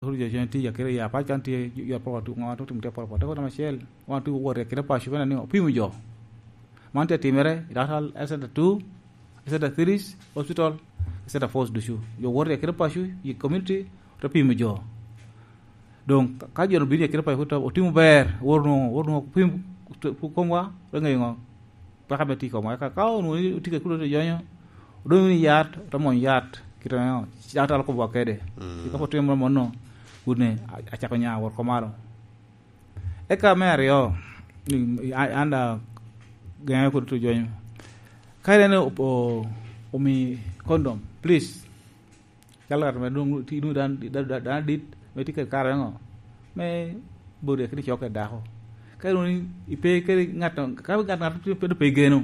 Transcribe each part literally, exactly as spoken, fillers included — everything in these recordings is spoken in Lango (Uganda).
Kuro jo cen tye akita ya pac kan tye, jo, jo poko tu, ŋo tu tim tye poko poko. Te kuro acel, wan tu wot akita paco bene ni opimo jo. Man tye timere, i daktar Exeter two, Exeter three, hospital, Exeter four ducu. Jo wot akita paco, i community, te pimo jo. Doŋ ka, ka jo obino akita paco, otimo ber, wot nwoŋo, wot nwoŋo pim, pu-, komwa, te ŋeyo ŋo. Peko ame tye i komwa. Eka ka onwoŋo ni otye kede kulu te jonyo, odonyo wunu i yat, ote mony yat, kite ame daktari okobo kede. Mm. Ka pwod tye moro mono, wun ni, a-, acako nya wot oko malo. Eka me aryo, ni, a-, an da geŋe kodi te jonyo. Ka ineno o-, o-, omi condom, please, calo ngat ame dwoŋ tye, dwoŋ dan, dan, dan, dan adit, ame tye kede kare ŋo, me boti akit i cok kede dako. Ka dwoŋ ipe kede ŋat, ka ŋat, ŋat pe, pe, pe geno,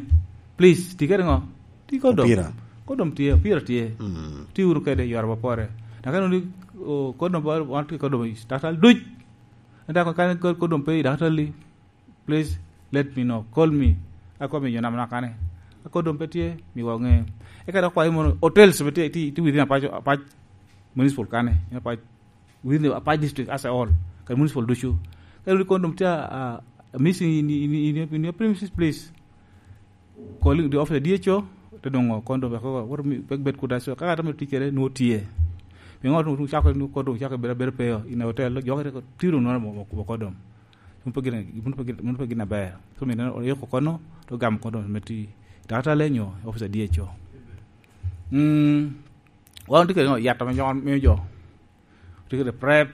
please, ti kede ŋo? Ti kondom. Opira. Kondom tye, opira tye. Mm. Ti wunu kede i yore mapore. Na ka dwoŋ ni, o, kondom ba, wan tye kondom i daktar duc. Ento ka, ka kondom pe i daktar li, please let me know, call me. Akobo i yo nam nakane. Akor doŋ pe tye, miwa oŋe. Eka dok kwayo mono, hotels be tye, tye, tye within Apac, Apac Municipal kane, in Apac, within Apac District as a whole, kadi municipal ducu. Ka wun ikono doŋ tye, ah, missing in, in, in, in your premises, please. Calling the office D H O, te doŋ kono doŋ wek, wek, wek bed kuda, so, ka ŋat ame tye kede, nwoŋo tye. Pi ŋo doŋ cako, nwoŋo doŋ cako bedo, bedo peyo, in a hotel, jo te tiro nwoŋo mo, mo, mo kono doŋ. Mano pe gin, mano pe gin, mano pe gin aber. So, mine oyiko kono, to gamo kono me ti. Daktar le nyo, officer D H O. Mm, wan tye kede yat ame nyo-, miyo jo. Tye kede prep,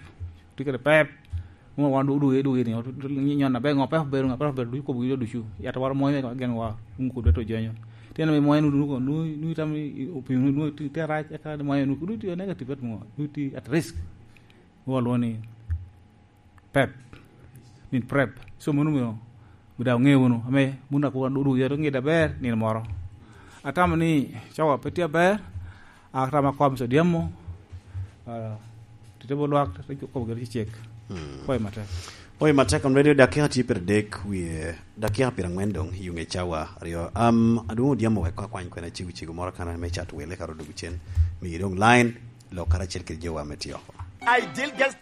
tye kede pep. Mo wan du, du, du, ni, nyon aber, ŋo pep ber, ŋo pep ber, du kobo gi jo ducu. Yat waro moyo, gen wa, un kudu to jenyo. Tyen me moyo nu, nu, nu, nu tam i, i, opi, nu, nu, ti, ti arac, eka moyo nu, nu ti negative, mo, nu ti at risk. Mo lwongo ni pep, min prep. So, mano omio, omio daŋ wuŋe wunu, ame wun daŋ kur wun odugo yot oŋidde aber nino moro. Atamo ni cawa pe tye aber, atamo akoa me sodiamo, ah, tite bo lwak, te kobo gire cecek. Hmm. Pwoyo matek. Pwoyo matek, on radio dakika tye pire dek, wie dakika pire angwen doŋ, i ŋe cawa aryo. Am, adwoŋ odiamo wek akwany kwena cego cego moro kan me cat wele ka ro dwogo cen. Mi doŋ line, lok karacel kede jowa me tio oko. Ideal Guest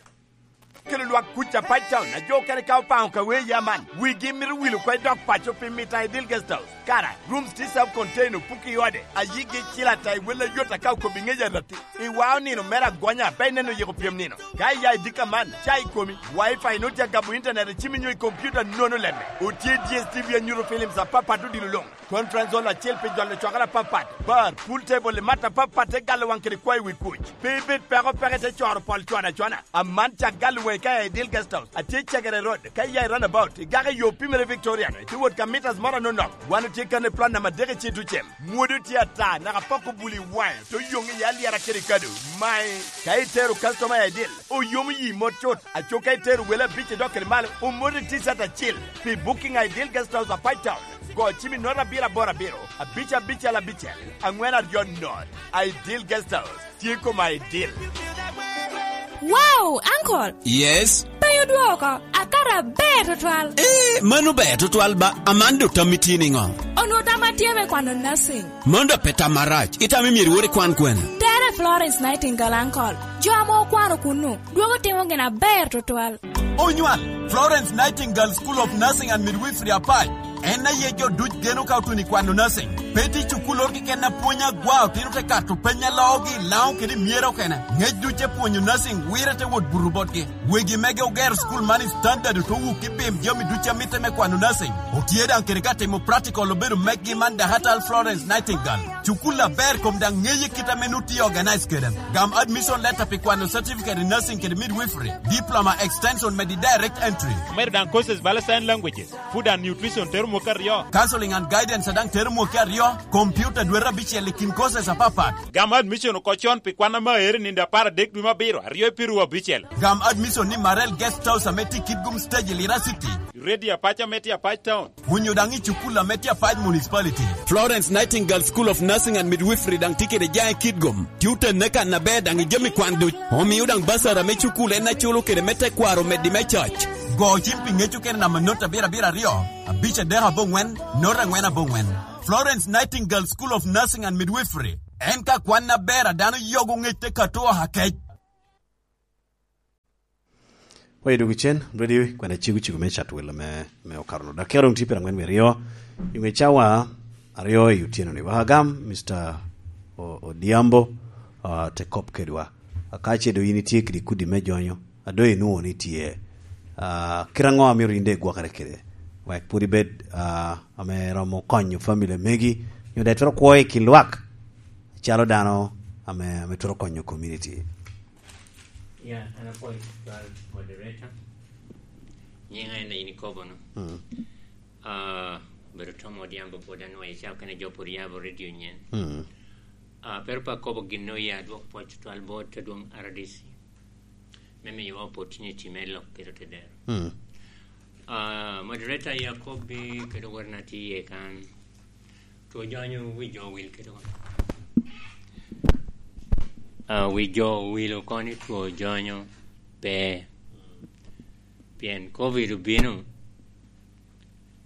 kelo lwak kuc Apac Town, a jo okene ka opaŋo ka wee ya man, wigi mito wil oko i dok paco pi mito Ideal Guest House. Kara, rooms tye self contained, opuki i ode, a yigi cil ata i wel ayot aka okobo i ŋec arati. I wao nino mere agonya, pe ineno yiko pyem nino. Ka iya i dika man, ca i komi, Wi-Fi nwoŋo tye agabo internet i cimi nyo i kompiuta nono lemme. Otye D S T V anyuto films apapat odilo luŋ. Conference hall acel pi jolo cwakere apapat, bar, pool table i mat apapat te galo waŋ kede kwayo wi kuc. Pe ibed peko peke te coro pol con acona. Aman cak galo waŋi ka i Ideal Guest House, atye i Cegere Road, ka iya i roundabout, igako i yo pimere Victorian, itye wot ka meters moro anonok. Wan otye kan i plot namba adek i Citucem. Mwodo tye ata, naka poko bul i waŋe, to yoŋ iye alyera kede kado. Mae, ka itero customer i Ideal, oyomo yi mot cut, aco ka itero wele abic idok kede malo, omoti T-shirt acil. Pi booking a Ideal Guest House Apac Town, go cim i note abiro aboro abiro, abic abicel abicel, angwen aryo note. Ideal Guest House, tye koma Ideal. Wow, uncle! Yes? Pe odwoko, akara ber tutwal. Eh, mano ber tutwal ba, aman do tammi tye niŋo? Onwo tamma tye me kwano nursing. Mano da pe tam marac, itamo myero iwor ikwan kwene? Tere Florence Nightingale, uncle. Jo ame okwano kunnu, dwogo timo gin aber tutwal. Onywal, Florence Nightingale School of Nursing and Midwifery Apac. En aye jo duc geno ka otuno i kwano nursing. Pe tye cukul oro keken apwonya gwa otino te kato peny a loogi i Laŋo kede i Myera okene. Ŋec duc te pwonyo nursing wire te wot buto botgi. Wegi mege ogero cukul man i standard oto wuk i pim jami duc a mitte me kwano nursing. Otye daŋ kede ka timo practical obedo meggi man Dakatal Florence Nightingale. Cukul aber kom daŋ ŋeye kit ame nut tye organize kede. Gam admission letter pi kwano certificate in nursing kede midwifery, diploma extension medi direct entry. Omedo daŋ courses bala sign languages, food and nutrition tero mwaka aryo. Counseling and guidance daŋ tero mwaka aryo, computer dwete abicel i kin courses apapat. Gam admission oko con pi kwan ame aero i nino apar adek dwe me abiro, aryo i piru abicel. Gam admission ni Marel Guest House ame tye i Kitgum Stage i Lira City. Radio Apac ame tye Apac Town. Onyo daŋ i cukul ame tye Apac Municipality. Florence Nightingale School of Nursing and Midwifery daŋ tye kede jaŋ i Kitgum. Tye otenne kan aber daŋ i jami kwan duc. Omio daŋ basara me cukul en aculo kede me tekwaro meddi me cac. Go cim pi ŋec okene namba not abiro abiro aryo, abic adek aboŋwen, not angwen aboŋwen. Florence Nightingale School of Nursing and Midwifery. En ka kwan aber a dano yogo ŋec te kato oha kec. Oye dwogo cen, ready, kwena cego cego me cat welo me, me okaro no. Dakika doŋ tye pyerangwen wie aryo, i ŋe cawa aryo i otyeno ni. Waka gam, Mister O-, Odhiambo, ah, te kop kedwa. Aka ce doŋ yin itye kede kudi me jonyo, a doŋ inwoŋo ni tye. Ah, kite aŋo amito yin doŋ igwokere kede? Wek pwod ibed, ah, ame romo konyo family megi, nyo daŋ itwero kwo i kin lwak, calo dano ame, ame twero konyo community. Ya, an apwoyo tutwal moderator. Nyiŋa en a in ikobo no. Mm. Ah, obedo Tom Odhiambo, pwod anwoŋo i cawa kene jo pwod yabo radio nyen. Mm. Ah, pero pe akobo gin oye adwok pwoc tutwal bot adwoŋ R D C me miyowa opportunity me lok kede otedero. Mm. Ah, moderator ya kobbi kede wotna tye iye kan. Two jonyo wi jo owil kede wan. Ah, wi jo owil oko ni two jonyo pe. Pien covid obino,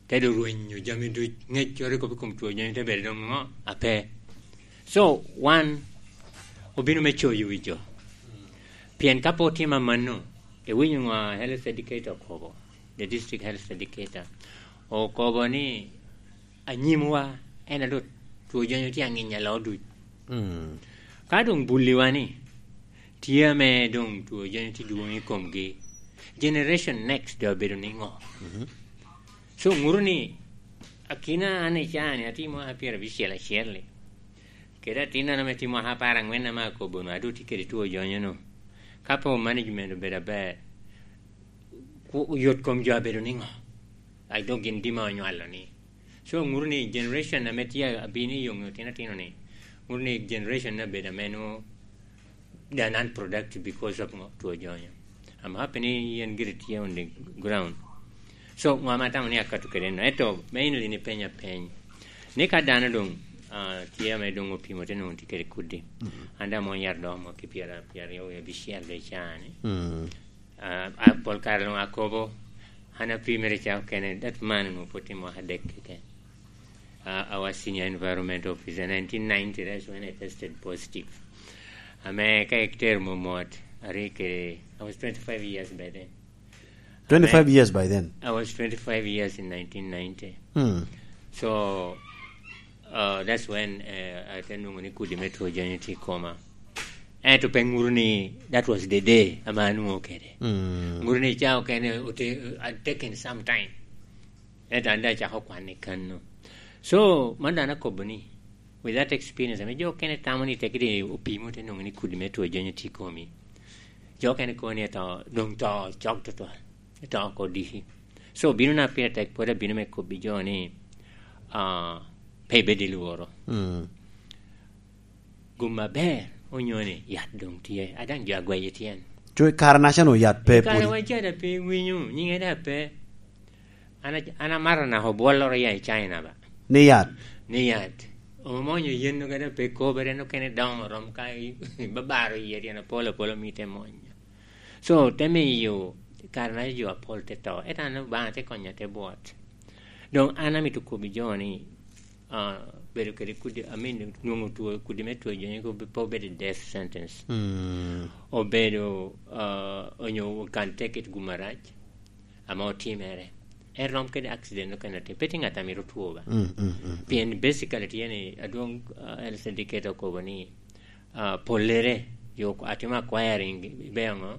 te doŋ rwenyo jami duc, ŋec coro i kop i kom two jonyo te bedo doŋ ŋo? Ape. So, wan obino me coyo wi jo. Pien ka pe otimo amanno, iwinyo ŋo a health educator okobo, the district health educator, okobo ni anyimwa en a doŋ two jonyo tye aŋinya loo duc. Mm. Ka doŋ bulliwa ni, tye ame doŋ two jonyo tye dwoŋ i komgi, generation next doŋ abedo niŋo? Mhm. So, ŋuto ni, akina an i caa-ni atye mwaka pyerabicel acel-li, kede atinna ame tye mwaka apar aŋwen ame akobo-nu, a doŋ tye kede two jonyo-nu. Ka pe management obedo aber, ku-, yot kom jo abedo niŋo? Ai, doŋ gin dima onywalo ni. So, ŋuto ni generation ame tye abino i yoŋe otino atino ni, ŋuto ni generation ni abedo ame nwoŋo they are non-productive because of ŋo? Two jonyo. I'm happy ni yen giri tye on the ground. So, ŋo ame atamo ni akato kede no? Ento, me ino din ipenya peny. Ni ka dano doŋ, ah, tye ame doŋ opimo te nwoŋo tye kede kudi. Mhm. An daŋ mony yat doŋ mo ki pyera, pyera aryo wie abicel doŋ i caa-ni. Mm. Ah, ah, pol kare doŋ akobo, an apimere ca okene, that man onwoŋo pwod tye mwaka adek keken. Ah, I was senior environment officer, nineteen ninety, that's when I tested positive. Ame ka itero momot, aryo kede, I was twenty-five years by then. Twenty-five years by then? I was twenty-five years in nineteen ninety. Hmm. So, uh, that's when, uh, ate nwoŋo ni kudi me two jonyo tye i koma. Ento pe ŋuto ni that was the day ame anwoŋo kede. Mm. Ŋuto ni ca okene ote-, uh, had taken some time. Ento an daŋ acako kwan i kanno. So, man daŋ akobo ni, with that experience, ame jo okene tamo ni tekki doŋ opimo te nwoŋo ni kudi me two jonyo tye i komi. Jo okene kono ni ato, doŋ to cok tutwal. Ato oko diki. So, bino na pire tek, pwod abino me kobbi jo ni, ah, pe ibed i lworo. Mm. Gum aber, onyo ni yat doŋ tye. A daŋ jo agweyo tyen. Co i kare naca-nu yat pe. I kare pwod. Wa ca daŋ pe iwinyo, nyiŋe daŋ pe. An a-, an amaro naka obwolloro ya i China ba. Ni yat? Ni yat. Omonyo yen okene pe kobere, en okene doŋo rom ka i-, ibabaro iye tyen apol apol omi te monyo. So, te miyo kare na jo apol te to. Ento an Obaŋa te konya te bwot. Doŋ an amito kobbi jo ni, ah, bedo kede kudi, I mean, nwoŋo two, kudi me two jonyo ko pe obedo death sentence. Mm. Obedo, ah, onyo we can take it gum arac, ame otimere. En rom kede accident okene atir. Pe tye ŋat a mito two ba. Mm, mm, mm, mm. Pien basically tye ni, adwoŋ, ah, health educator okobo ni, ah, pollere, yo atimo acquiring, ibedo ŋo?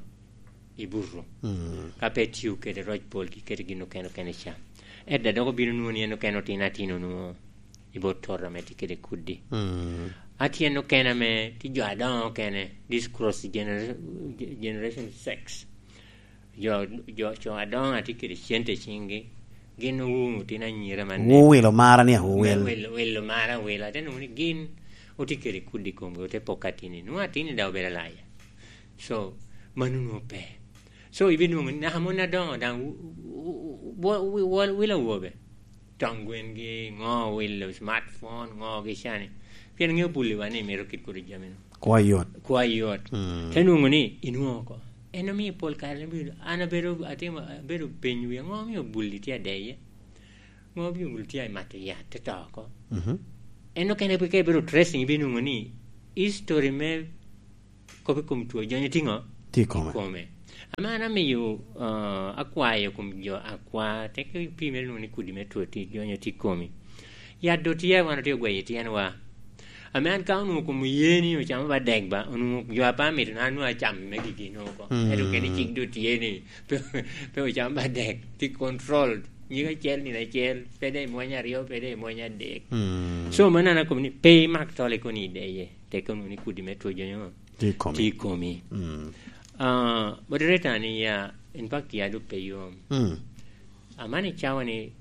I buto. Mm. Ka pe tio kede roc pol ki kede gin okene okene ca. Edda dok obino nwoŋo ni en okene otino atino nwoŋo i bot toto ame tye kede kudi. Mm. Atyen okene ame tye jo adoŋo okene, this cross genera-, generation sex. Jo, jo, co adoŋo a tye kede cente i ciŋgi, gin owumo otino anyira man. Wuwilo mara ni awuwil. Wilo, wilo mara awila. Ate nwoŋo ni gin otye kede kudi i komgi, ote poko atini. Nwoŋo atini daŋ obedo alaya. So, mano nwoŋo pe. So, ibinwoŋo ni naka mon adoŋo daŋ w-, w-, w-, w-, w-, wilo awobe. Toŋ gwengi, ŋo wilo smartphone, ŋo gi cani. Pien ŋeo bulliwa ni mito kit kodi jami-nu. Kwa yot. Kwa yot. Mm. Te nwoŋo ni inwoŋo oko. En omio pol kare ni bedo, an abedo, atimo, abedo piny wiya, ŋo omio bulli tye adeye? Ŋo omio bulli tye amato yat, te to oko? Mhm. En okene ka ibedo tracing, ibinwoŋo ni history me kop i kom two jonyo tye ŋo? Tye i kome. I kome. Ame an amiyo, ah, akwayo kom jo akwa, teke pii mere lwongo ni kudi me two ti-, jonyo tye i komi. Yat do tye, wan otye ogweyo i tyenwa. Ame an ka onwoŋo kom oye ni ocamo ba dek ba, onwoŋo jo a pe amito na, nwoŋo acamo me gigi nwoŋo oko. Mm. Ento kene cik do tye ni pe, pe ocamo ba dek, tye controlled. Nyig acel, nino acel, pe de i mweny aryo, pe de i mweny adek. Mm. So, mannono akobo ni pe imak tol i koni i deye, teke onwoŋo ni kudi me two jonyo Tye i komi. Tye i komi. Mm. Ah, moderator ni ya, in fact, ya dok pe yom. Mm. Amani cawa ni,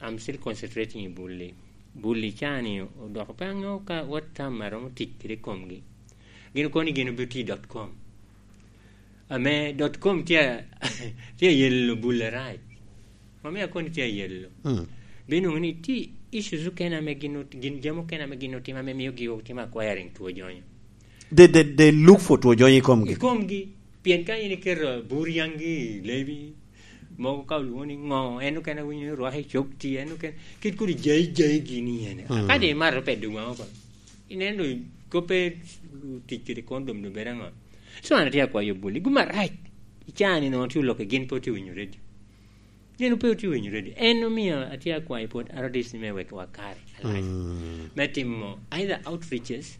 I'm still concentrating i bulli. Bulli ca ni odoko pe aŋeo ka what time aromo tic kede komgi. Gin okoni gin obitye i dot com. Ame dot com tye a-, tye ayelo bulli arac. Mami akoni tye ayelo. Mm. Binwoŋo ni tye issues okene ame gin ot-, gin jami okene ame gin otimo ame mio gi otimo acquiring two jonyo. They, they, they look for two jonyo i komgi. I komgi. Pien ka in iketo bur yaŋgi i lebi, mogo ka olwoŋo ni ŋo, en okene awinyo ni rwako i cok ti, en okene, kit kodi jai, jai gini ene. Mm. Ka de imato pe dong waŋo oko. Ineno koppe tic kede condom do bedo aŋo? So an atye akwayo bulli, gum arac. Icaa ni nongo tye olokke, gin pe otye winyo redio. Gin pe otye winyo redio. En omio atye akwayo pwod R D C me wek wakare alac. Mm. Me timo either outreaches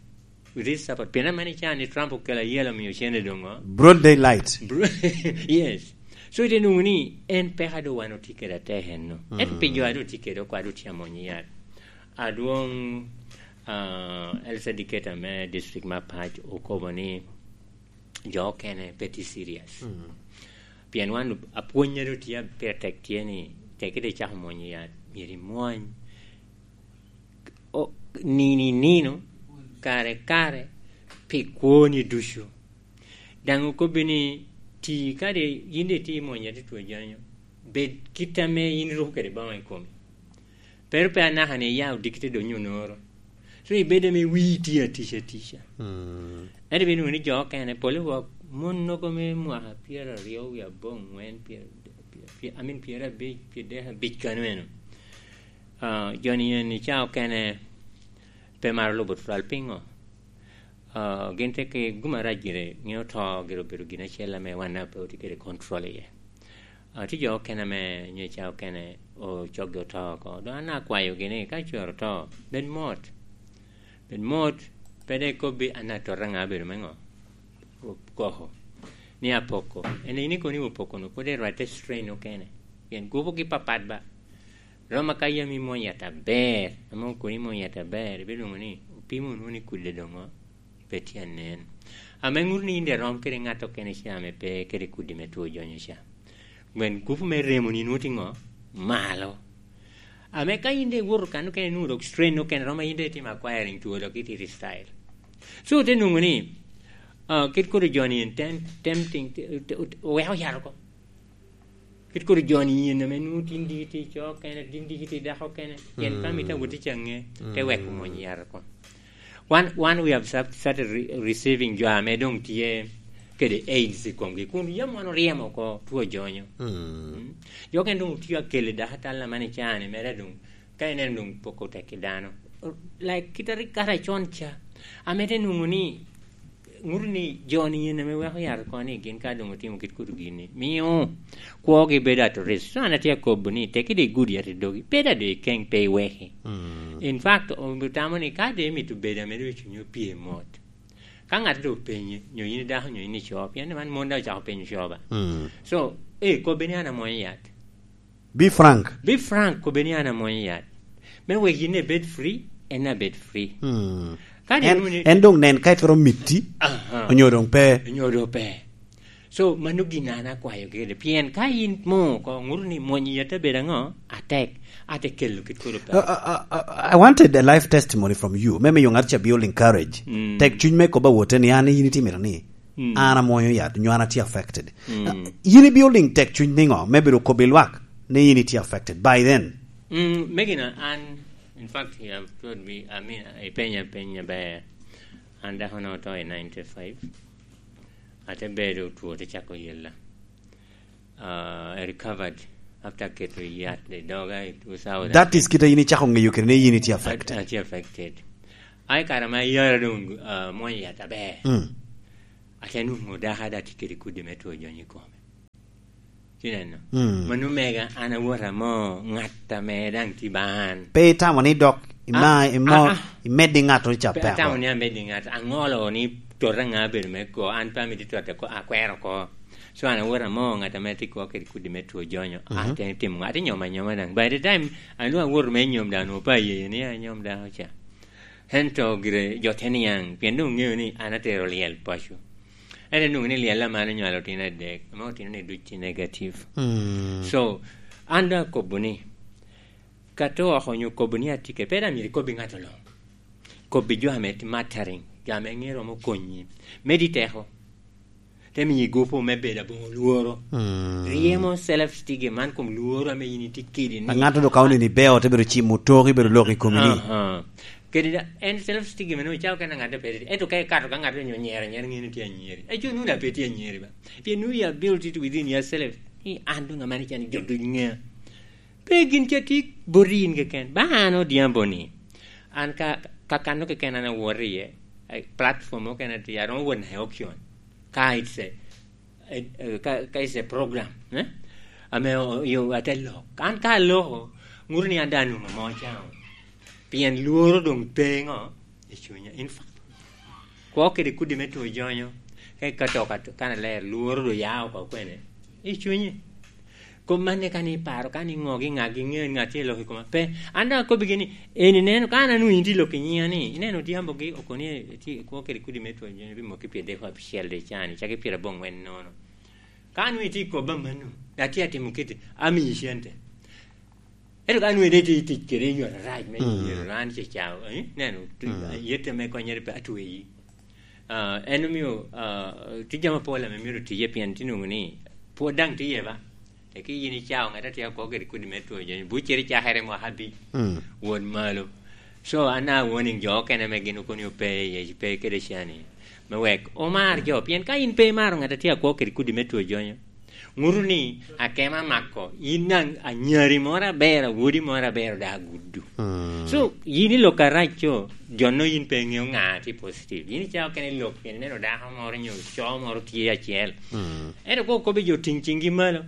with this support. Pien aman icaa ni Trump okelo ayela omio cene doŋo. Broad daylight. Bro-, yes. So ite nwoŋo ni en peka do wan otye kede atek enno. Ento pi jo a do tye kede okwa do tye amony yat. Adwoŋ, ah, Elsa Diketa me district me Apac okobo ni jo okene pe tye serious. Mm. Pien wan apwonnyere otye a-, pire tek tye ni, tek ite cako mwonyo yat, myero imwony. O, nino i nino, kare kare, pi kwoni ducu. Daŋ okobbi ni, ti kadi yin daŋ itye imwonyo yat i two jonyo, bed kit ame yin iruko kede boŋo i komi. Pero pe anaka ni iya odiki te donyo onoro. So ibedo ame wii tye atica atica. Mm. Ento ibino nwoŋo ni jo okene, pol i wok mon nogo me mwaka pyeraryo wie aboŋwen, pyer-, pyer-, pyer-, I mean, pyerabic, pyerdek abic kano eno. Ah, jo-ni eni ca okene pe maro lubo tutwal. Piŋo? Ah, gin te ke gum arac gire, ŋeo to gire obedo gin acel ame wan daŋ pe otye kede control iye. Ah, tye jo okene ame nyo i ca okene ocoggi oto oko. Doŋ an akwayogi ni ka cwero oto, bed mot. Bed mot, pe de ikobbi, "An atota ŋa abedo me ŋo? Koko. Ni apoko." En eni kono ni opoko-nu, pwod irwatte strain okene. Pien gupugi papat ba. Rom aka yam imwony yat aber, ame okoni imwony yat aber, ibino nwoŋo ni opimo nwoŋo ni kudde doŋo pe tye anen. Ame ŋuto ni in daŋ irom kede ŋat okene ca ame pe kede kudi me two jonyo ca. Gwen gupu me remoni nwoŋo tye ŋo? Malo. Ame ka in daŋ iwoto kan okene nwoŋo dok strain okene, romo in daŋ itimo acquiring two dok itito i style. So, te nwoŋo ni, ah, kit kodi jo-ni en tem-, tempting, te-, te-, oweko yat oko. Kit kodi jo-ni yen ame nwoŋo tin diki tye i co okene, tin diki tye i dako okene. Pien ka mito awot i caŋe, te weko mwony yat oko. Wan, wan we have start-, started re-, receiving jo ame doŋ tye kede AIDS i komgi, kun yam wan oryemo oko two jonyo. Mm. Mm. Jo okene doŋ otye akelle dako atal aman i caa-ni, mere doŋ, ka ineno doŋ poko tek i dano. Like, kit a rik kara con ca, ame te nwoŋo ni, ŋuto ni jo-ni yen ame weko yat oko ni gin ka doŋ otimo kit kuto gin-ni, mio kwogi bedo at risk. So an atye akobo ni, teke doŋ igud yat i dogi, pe daŋ doŋ ikeng, pe iweki. Mm. In fact, otamo ni ka doŋ imito bedo ame doŋ cunyi opye mot, ka ŋat doŋ openyi, nyo in idako, nyo in ico, pien man mon daŋ ocako penyo co ba. Mm. So, eh, kobbe ni an amwonyo yat. Be frank. Be frank, kobbe ni an amwonyo yat. Me wek yin ebed free, en abed free. Hmm. Ka en, nwoŋo ni en doŋ nen ka itwero mitti, aha, onyo doŋ pe. Onyo doŋ pe. So, mano gin an akwayo kede. Pien ka in mo oko, ŋuto ni mwonyo yat abedo aŋo? Atek. Ate kelo kit kodo pe. Uh, uh, uh, uh, I wanted a life testimony from you. Me miyo ŋat ca building courage. Mm. Tek cuny me kobo awote ni an yin itye mito ni. Mm. An amwonyo yat, nyo an atye affected. Mm. Uh, yin i building tek cuny niŋo? Me bedo kobbi lwak ni yin itye affected. By then. Mm, me gin an, in fact, you have told me, I mean, ipenya peny aber. An dako na oto i ninety-five. Ate bedo two, te cako yella. Uh, I recovered after keto yat i doga i two thousand. That is kite yin icako ŋeyo kede ni yin itye affected. At-, atye affected. Ai kara ma yara doŋ, uh, mwonyo yat aber. Mm. Ate nwoŋo dako ada tye kede kudi me two jonyo i kome. Ineno? Mm. Mano mega, an awot amo ŋat ame daŋ tye ba an. Pe itamo ni dok ima-, Ah, imo-, ah, ah. Imeddi ŋattoro ca Pe peko? Atamo ni ameddi ŋat, aŋolo ni tota ŋa abedo me ko, an pe amito tota ko, akwero ko. So an awot amo ŋat ame tye kwo kede kudi me two jonyo, Mhm. Atemo timo ŋa, atye nyom anyoma daŋ. By the time, an doŋ awoto me nyom daŋ, onwoŋo pe ayeyo ni anyom daŋ oca. Ento gire jo te niaŋ, pien doŋ ŋeo ni an atero lyel paco. Ento nwoŋo ni lyel aman onywalo otino adek, ame otino ni duc tye negative. Mm. So, an doŋ akobo ni, ka to oko onyo kobo ni atye kede, pe daŋ myero ikobbi ŋat oloŋ. Kobbi jo ame tye mattering, jo ame ŋeo romo konyi. Medi teko. Te miyi gupu me bedo aboŋo lworo. Mm. Ryemo self-esteem man kom lworo ame in itye kede ni. Ŋat doŋ ka oneni beo, te bedo cimo tok, ibedo lok i komi ni. Aha. Kede da, en self-esteem eno, icako kena ŋat pe tye. Ento ka ikato ka ŋat onyo nyero, nyero ŋeni tye anyeri. Aco nwoŋo daŋ pe tye anyeri ba. Pien nwoŋo your ability to within yourself. Ni an doŋ amani can jo duc ŋea. Pe gin ca tye boti in keken. Ba an Odhiambo ni, an ka, ka kanno keken an awoto iye, eh, platform okene tye, aromo wot naka i auction. Ka it's a, eh, eh, ka, ka it's a program, eh? Ame o-, yo, ate lok. An ka aloko, ŋuto ni an daŋ anwoŋo amo can. Pien lworo doŋ pe ŋo? I cunya. In fact, kwo kede kudi me two jonyo, ka ikato ka, kan aler, lworo doŋ ya oko kwene? I cunyi. Kom manne ka ni iparo, ka ni ŋo gi ŋa gi ŋeo ŋat tye lok i koma. Pe, an daŋ akobbigi ni, eni neno, ka an anwoŋo in tye lok i nyiŋa ni, ineno Odhiambo gi okoni tye kwo kede kudi me two jonyo, pi moko i pyerdek apicel de can, icaki pyeraboŋwen nono. Ka anwoŋo itye i kobba mano, atye atimo kite, amiyi cente. Ento ka nwoŋo ite tye tic kede i yo arac me Mm. Myero an ce ca, eh, neno, tu-, Mm. Yette me konnyere pe atweyi. Ah, en omio, ah, tye jami apol ame myero tiye pien tye nwoŋo ni pwod daŋ tiye ba. Teki yin icao ŋat a tye akwo kede kudi me two jonyo, buccere cakere mwaka abic, Mm. wot malo. So, an a warning jo okene ame gin okoni ope iye, pe kede cani, me wek omar jo. Pien ka in pe imaro ŋat a tye akwo kede kudi me two jonyo, ŋuto ni akema mako, in daŋ anyari moro aber, awodi moro aber, daŋ aguddu. Mm. So, yin i lok arac co, jo no in pe iŋeo ŋa tye positive. Yin icako kene i lok, pien ineno dako moro nyo co moro tye acel. Mm. Ento ko okobe jo ting ciŋgi malo,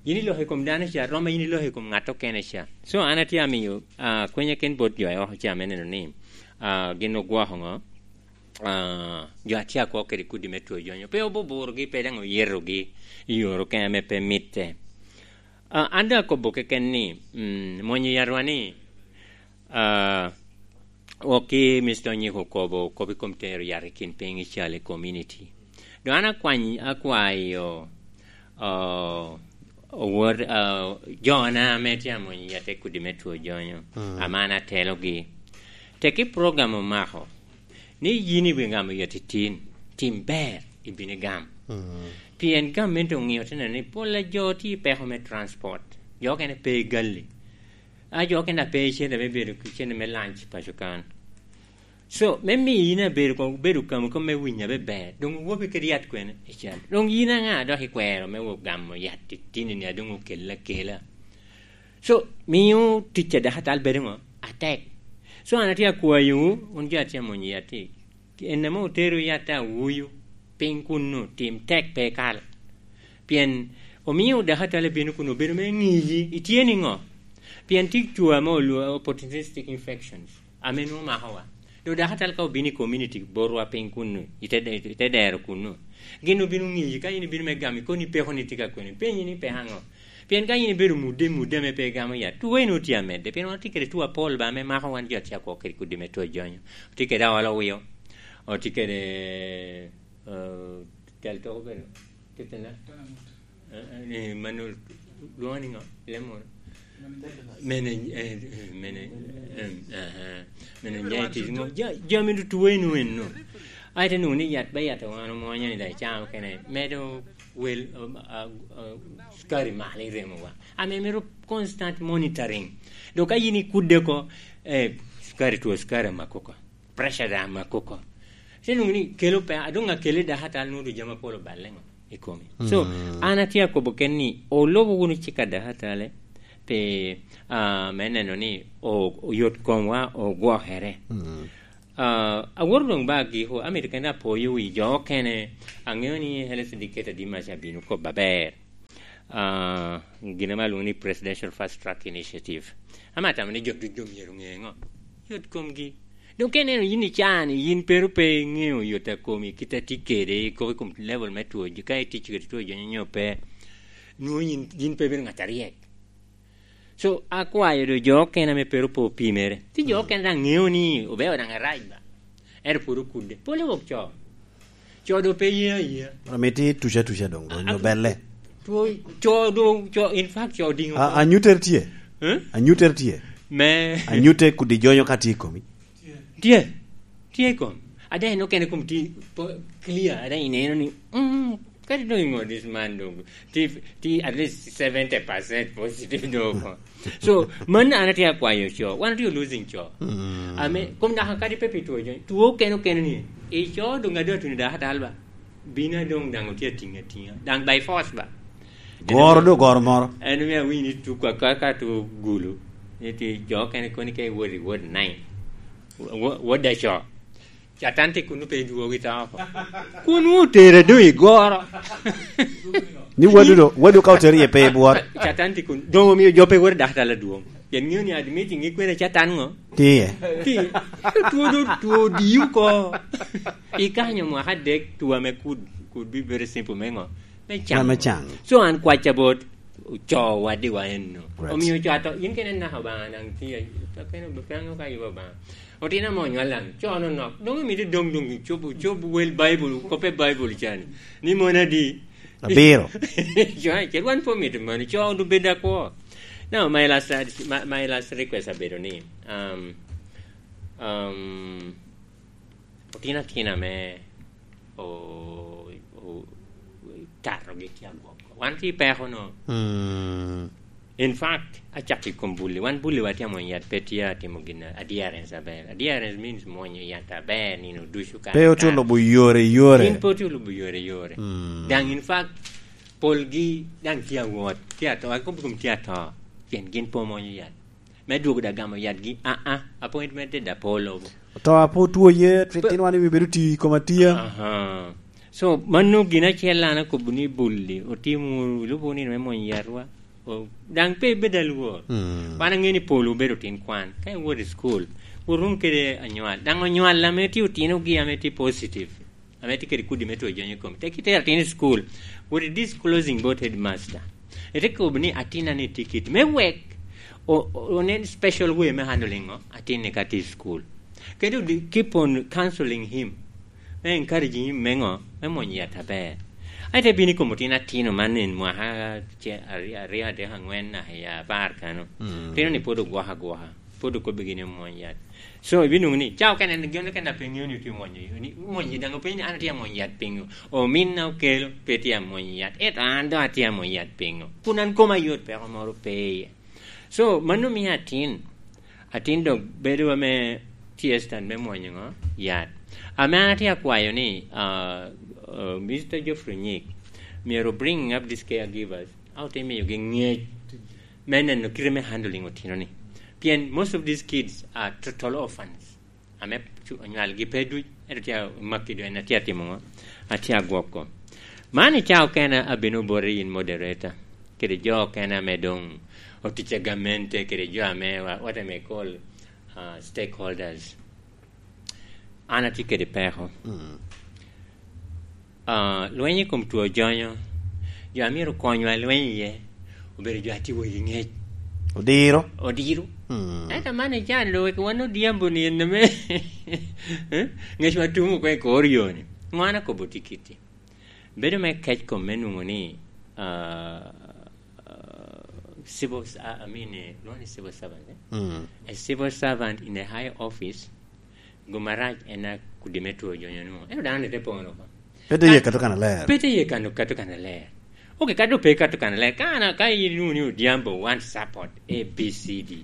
yin i lok i kom dano ca, rom ma yin i lok i kom ŋat okene ca. So, an atye amiyo, ah, kwenya ken bot jo oko ca me neno ni, ah, gin ogwoko ŋo? Ah, jo a tye akwo kede kudi me two jonyo, pe obuburogi, pe daŋ oyetogi i yore okene ame pe mitte. Ah, an daŋ akobo keken ni, mm, mwonyo yatwa ni, ah, wok ki Mister Onyiko okobo kop i kom tero yat i kin piny i cal i community. Doŋ an akwany-, akwayo, ah, owot, ah, jona ame tye amwonyo yat i kudi me two jonyo, Mm. ame an atelogi. Teki program omako, ni yin iwinyo gamo yat i tin, tim ber, ibino igam. Mm. Pien gamente oŋio te neno ni pol a jo tye i peko me transport. Jo okene pe i gali. A jo okene a pe i cente me bedo ki cente me lunch paco kan. So, me miyo yin abedo ko-, bedo kamo kop me winyo abe ber, doŋ owobi kede yat kwene i cal. Doŋ yin aŋa dok ikwero me wo gamo yat i tin-ni a doŋ okel akela? So, miyo tic a dakatal bedo ŋo? Atek. So, an atye akwayowu, wun jo atye amwonyo yat-ti, en ame otero yat a wuyu piny kunnu, tim tek pe ikal. Pien omio dakatal ebino kun obedo me ŋiyi, itye niŋo? Pien tye cwa ame olwo-, opportunistic infections, ame nwoŋo makowa. Doŋ dakatal ka obino i community botwa piny kunnu, ite de-, ite dero kunnu, gin obino ŋiyi, ka in ibino me gamo, ikoni peko ni tye ka kwene, penyi ni peko aŋo? Pien ka in ibedo mudde, mudde ame pe igamo yat, tuwe nwoŋo tye amedde, pien wan tye kede tuo apol ba ame mako wan jo a tye akwo kede kudi me two jonyo. Otye kede aolo wio, otye kede, eh, tel toko bedo, tittina. Eh, eh, mano lwoŋo ni ŋo? Lemon. Mene, eh, eh, mene, em, aha. Mene, ja, ja, ja, mene tuwe nwoŋo enno. Ai, te nwoŋo ni yat, ba yat wan omwonyo ni daŋ icamo kene, medo wel, um, ah, ah, sukari malo i remowa. Ame mito constant monitoring. Dok ka yin ikudde oko, eh, sukari, two sukari amako oko, pressure daŋ amako oko. Te nwoŋo ni kelo pe, a doŋ akele dakatal nwoŋo jami apol oballe ŋo i komi. So, mm, an atye akobo ken ni, olubo wunu cik a dakatale, pi, ah, me neno ni o-, oyot komwa ogwokere. Mm. Ah, awoto doŋ ba agiko, amito kene apoyo wi jo okene. Aŋeo ni health educator Dimac abino kop aber. Ah, gin ame alwongo ni Presidential Fast Track Initiative. Ama tamo ni jo ducu myero ŋe ŋo? Yot komgi. Dok ka ineno yin icaa-ni, yin pe ru pe iŋeo yot a komi, kit a tye kede, kop i kom level me two, ka itic kede two jonyo nyo pe, nwoŋo yin, yin pe ibedo ŋat aryek. So, akwayo do jo okene ame pe ru pe opimere. Ti jo okene daŋ ŋeo ni obedo daŋ arac ba. Ento pwod okudde. Pole wok co. Co do pe ye aye. Amito tuca tuca doŋ, do nyo belle. Two, co do, co, in fact, co diŋo. A, anyuter tye? Eh? Anyuter tye? Me. Anyute kudi jonyo ka tye i komi. Tye. Tye i kom. Ada en okene kom tye po-, clear. Ada ineno ni, mm, kadi doŋ ingo this man doŋ. Ti, ti at least seventy percent positive doŋ. So, man an atye akwayo co. Wan otye losing co. Mm. Ame, kom naka kadi pe pi two jo. Two okene okene ni. I co doŋ adu atuni daka talba. Bino doŋ daŋ otye atiŋ atiŋa. Daŋ by force ba. Goro do goro moro. En omio awinyo ni tuko akaka to gulu. Ni ti jo okene koni ke wodi, wod nine. Wo-, wod aco. Catan tye kun pe dwogo i tao oko. Kun otere do i goro. Ni wadu do, wadu ka otere ye pe i bwot. Catan tye kun, doŋ omio jo pe wero daktar adwoŋ. Pien ŋeo ni admitting i kwene Catan ŋo? Tye. Ti, two do, two odiyo oko. I kanyo mwaka adek, two ame kud, kud be very simple me ŋo? Me caŋ. Me caŋ. So an kwacca bot co wadiwa enno. Right. Omio co ato, yin kene naka Obaŋa daŋ tye, to kene obe-, pe aŋeo ka yubo Obaŋa. Otino ame onywal daŋ, co nonok. Doŋ imito doŋ, doŋ icob, icob wel Baibul, koppe Baibul cani. Ni mon adi? Abiro. Co, ce wan pe omito mano, co ondu bed akwo. Now, my last, my, my last request abedo ni, um, um, otino atina ame o-, o-, tatogi tye agwok. Wan tye i peko no. Mm. In fact, acako i kom bulli. Wan bulli watye amwony yat, pe tye atimo gin adherence aber. Adherence means mwonyo yat aber nino ducu ka. Pe otye olubo yore, yore. Gin pe otye olubo yore, yore. Mm. Daŋ in fact, polgi daŋ tye awot, tye ato, akobo kom tye ato. Pien gin pe omwonyo yat. Me dwogo da gamo yatgi, aa, appointment da pe olobo. To apo two ye, pe- tin wan iwi bedo ti i kom atia. Aha. So, mano gin acel an akobo ni bulli, otimo, lubo nino me mwony yatwa. O, daŋ pe ibed alwor. Mm. Wan aŋeo ni pol obedo tin kwan. Ka iwot i school, wot wunu kede anywal. Daŋ onywal ame tye otinogi ame tye positive. Ame tye kede kudi me two jonyo i kome. Tek itero atin i school, wot i disclosing bot headmaster. Ite kobo ni atin-na ni tye kit me wek o-, o-, onen special way me handling o atin-ni ka tye i school. Kede odi-, keep on counseling him. Me encouraging him me ŋo? Me mwonyo yat aber. Aye te bino i kom otin atino man en mwaka ce-, aryo, aryo, adek, aŋwen, naka i apar kano. Mm. Otino-ni pwod ogwoko agwoka. Pwod okobbigi ni omwony yat. So, ibinwoŋo ni, ca okene, gin okene a pe ŋeo ni otye omwonyo, ni omwonyo daŋ openyo ni, "An atye amwonyo yat piŋo? Ominna okelo, pe tye amwonyo yat. Ento an doŋ atye amwonyo yat piŋo? Kun an koma yot, peko moro pe iye." So, mano mio atin, atin dok bedo ame tye stand me mwonyo ŋo? Yat. Ame an atye akwayo ni, ah, ah, Mister Geoffrey Nyik, myero bring up these caregivers, a ote miyogi ŋec me neno kite me handling otino-ni. Pien most of these kids are total orphans. Ame cu-, onywalgi pe duc, ento tye a-, makki do en atye atimo ŋo? Atye agwoko. Man i ca okene abino boti in moderator, kede jo okene ame doŋ otic a gamente, kede jo ame wa-, what I may call, uh, stakeholders. An atye kede peko. Mm. Ah, lweny i kom two jonyo, jo a myero konywa i lweny iye, obedo jo a tye wegi ŋec. Odiro. Odiro. Mm. Ento man ican lo wek wan Odhiambo ni en ame, eh? Ŋec wa tum oko i kor yo-ni. Ŋo an akobo tye kiti? Bedo me kec kom me nwoŋo ni, ah, ah, civil s-, ah, I mean, eh, lwongo ni civil servant, eh? Mm. A civil servant in a high office, Gin marac en a kudi me two jonyo nwoŋo. Ento dano ni te pono oko. Pe te ye kato kan aler. Pe te ye kano kato kan aler. Ok, ka doŋ pe kato kan aler, ka an, ka in wunu ni Odhiambo want support A B C D,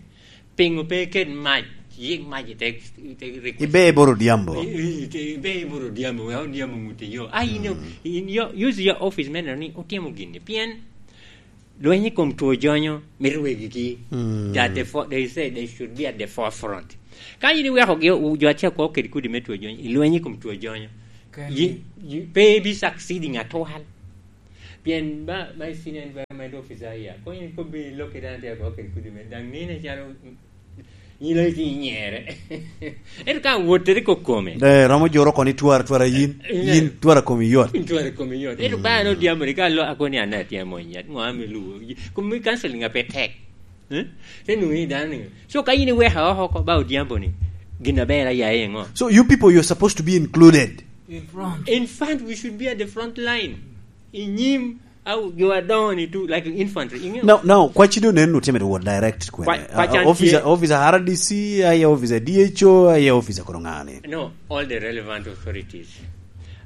piŋo pe iket mac, yik mac i te, i te request? Ibe i bor Odhiambo. I, i, i te, ibe i bor Odhiambo, wek Odhiambo ŋut i yo. A in, mm, in yo, use your office me neno ni otimo gini. Pien lweny i kom two jonyo mito wegigi. Mm. They are the for-, they say they should be at the forefront. Ka in iwekogi, o-, jo acel kwo kede kudi me two jonyo, i lweny i kom two jonyo, you, you, pe ibi succeeding at all. Pien ba, ba i senior environment officer ya. Ko in kobbi lok i dano tye agwok kede kudi me daŋ nino calo, mm, in lo iti nyere. Ento ka wot teri kokome. De, romo joro koni twar, twar a yin. Eh, yin twar a komi yot. In twar a komi yot. Ento ba no diambo ni ka lo akoni an atye amony yat. Ngo ami luwo. Komi counseling a pe tek. Eh? Te nwoŋo ni dano ni. So ka in iweka oko oko ba Odhiambo ni, gin aber ayaye ŋo? So you people, you're supposed to be included. In front. In fact, we should be at the front line. I nyim, au, jo adoŋo ni tu, like infantry. Iŋeo? Now, now, kwaci do nen otye mere wot direct kwene. Kwa-, kwaci an officer, tye officer R D C, aye officer D H O, aye officer kono ŋani. No, all the relevant authorities.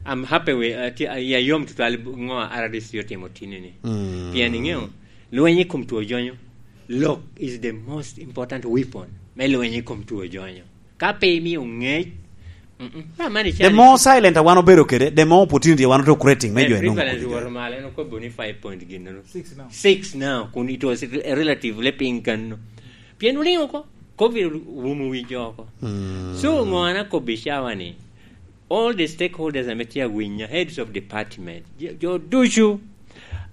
I'm happy with, uh, ti-, uh, ya yom tutwal ŋo R D C otimo tini ni. Mm. Pien iŋeo, lweny i kom two jonyo. Lok is the most important weapon me lweny i kom two jonyo. Ka pe imio ŋec, mm-mm. Ba mani the cani more silent a wan obedo kede, the more opportunity a wan oto creating me jo enwoŋo prevalence kodi jo. Woro malo, en okobo ni five point gin no. Six now. Six now, kun it was relatively piny kanno. Pien oliŋo oko, covid owumo wi jo oko. Mm. So, ŋo an akobbi cawa ni, all the stakeholders ame tye awinya, heads of department, jo, jo ducu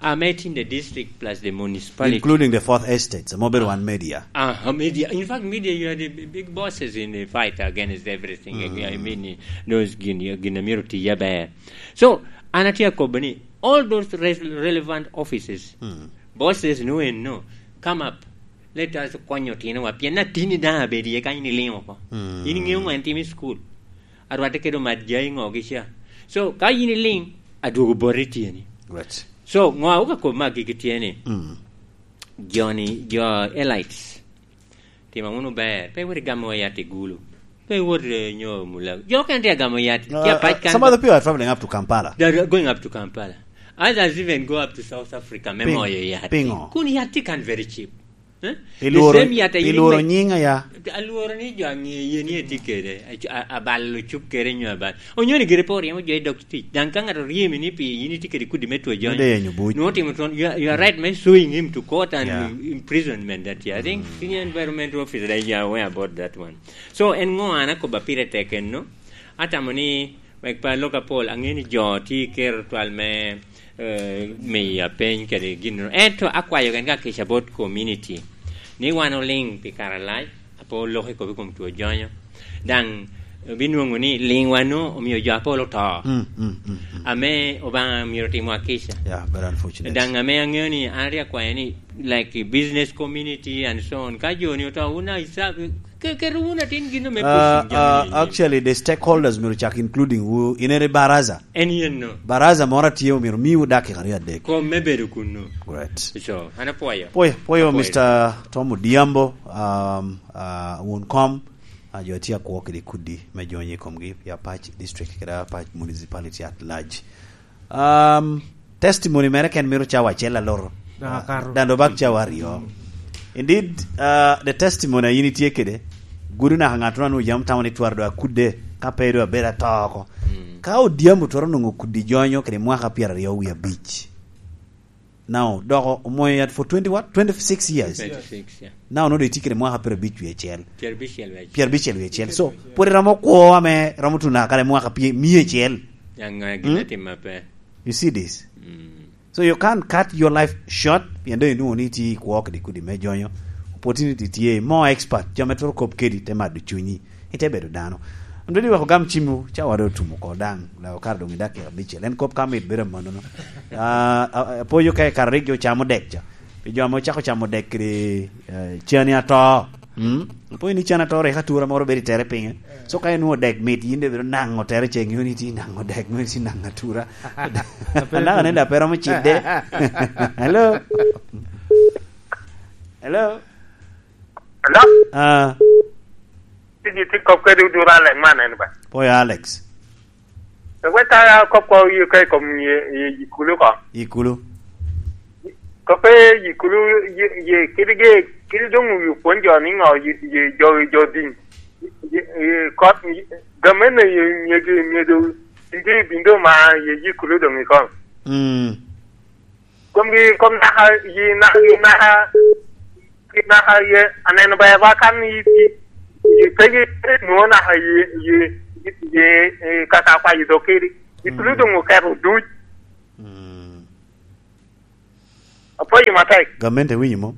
ame tye in the district plus the municipality. Including the fourth estates, ame obedo wan media. Ah, ah, media. In fact, media, you are the b-, big bosses in the fight against everything. Mm. I mean, those gin, gin amiro tiye aber. So, an atye akobo ni, all those res-, relevant offices, mm, bosses no and no, come up. Let us konyo otinowa, pien atini daŋ abedo iye ka in iliŋo oko. Mm. In iŋeo ŋo en timo i school? Arwatte kede omat jai ŋo gi ca. So, ka in iliŋ, adwogo boti tyeni. Right. So, ŋo a wuka kop me agikki tye ni, mm, joni, jo elites, timo wunu ber, pe iwot igamo yat i Gulu. Pe iwot, eh, nyo Mulago. Jo okene tye agamo yat, tye apac kan. Uh, some other people are traveling up to Kampala. They are going up to Kampala. Others even go up to South Africa me moyo yat. Pingo? Kun yat tye kan very cheap. Eh? The same yat a yin ilworo nying aya? Alworo ni jo aŋe ye ni etye kede, a, a, abalo cuk kede nyo abal. Onyo ni gire pe oryemo jo i dog tic. Daŋ ka ŋat oryemi ni pi yin itye kede kudi me two jonyo, nwoŋo timo twon, you are, you are right me suing him to court and imprisonment that year. I think senior environment officer, they are aware about that one. So, en ŋo an akoba pire tek enno? Atamo ni, wek pe alok apol, aŋeo ni jo tye i kero twal me, eh, miyo apeny kede gin. Ento akwayo gen ka kica bot community ni wan oliŋ pi kare alac, ape oloko i kop i kom two jonyo. Daŋ, eh, binwoŋo ni liŋwa no omio jo apol oto. Mm, mm, mm, mm. Ame Obaŋa myero otimwa kica. Yeah, very unfortunate. Daŋ ame aŋeo ni, an rik akwayo ni, like, business community and so on, ka jo ni oto, wun a isa-, ke-, keto wun atin gin ame pushing jami. Uh, actually, the stakeholders myero cak including wu, in ere baraza. En yen no. Baraza moro atye omyero miwu dakika aryo adek. Kom me bedo kunnu. Great. So, an apwoyo. Pwoyo, pwoyo, apwoyo. Mister Tom Odhiambo, um, uh, wun kom, uh, jo tye akwo kede kudi me jonyo i komgi, i Apac District, kede Apac Municipality at large. Um, testimony mere ken mito cawa acel aloro. Daŋ akato. Daŋ doŋ bak cawa aryo. Indeed, uh, the testimony a yin itye kede, gudo naka ŋat onwoŋo yam tamo ni twara doŋ akudde, ka pe doŋ abedo atoo oko. Mm. Ka Odhiambo twero nwoŋo kudi jonyo kede mwaka pyeraryo wie abic. Now, dok omwoyo yat for twenty what? Twenty-six years. Twenty-six, yeah. Now, onwoŋo doŋ itye kede mwaka pyerabic wie acel. Pyerabicel wie acel. Pyerabicel wie acel. So, pwod iromo kwo ame romo tuno naka kare mwaka pye-, mia acel. Yaŋ ŋa gin atima pe. You see this? Mm. So you can't cut your life short, pien doŋ inwoŋo ni itye i kwo kede kudi me jonyo. Opportunity tye, more expert, jo ame twero kop kedi, te mado cunyi, ite bedo dano. An doŋ iweko gam cimwu, cawa doŋ otum oko daŋ, leo kare doŋ i dakika abicel. En kop ka mit bedo amannono. Ah, ah, apwoyo ka i kare rik jo camo dek ca. Pi jo ame ocako camo dek kede, eh, cani ato. Mm? Apwoyo ni cani ato rik atura moro bedo i tere pinye. So ka inwoŋo dek mit, yin doŋ ibedo naŋo tere ce, ŋeo ni itye naŋo dek, ŋeo ni itye naŋo atura. Anaka nende ape romo cidde. Hello? Hello? Hello? Ah. Tiji ti kop kede Odura Alex man en ba? Pwoyo Alex. Wek ka kop ko yi ka i kom yi, yi, yi kulu ko. Yi kulu. Ko pe yi kulu, yi, yi, kidi ge, kidi doŋ yi pwony jo ni ŋo, yi, yi, jo, jo din. Yi, yi, kot, yi, gamen na yi, yi, yi, yi do, yi, yi bindo ma, yi, yi kulu doŋ i kom. Mm. Kom gi, kom naka, yi, na, yi, naka, Pi naka ye aneno ber ba kan i, i, i pegi nwoŋo naka ye, ye, ye, ye, kaka kwayo dok kedi. I tulu doŋ oketo duc. Mm. Apwoyo matek. Gamente winyo mo?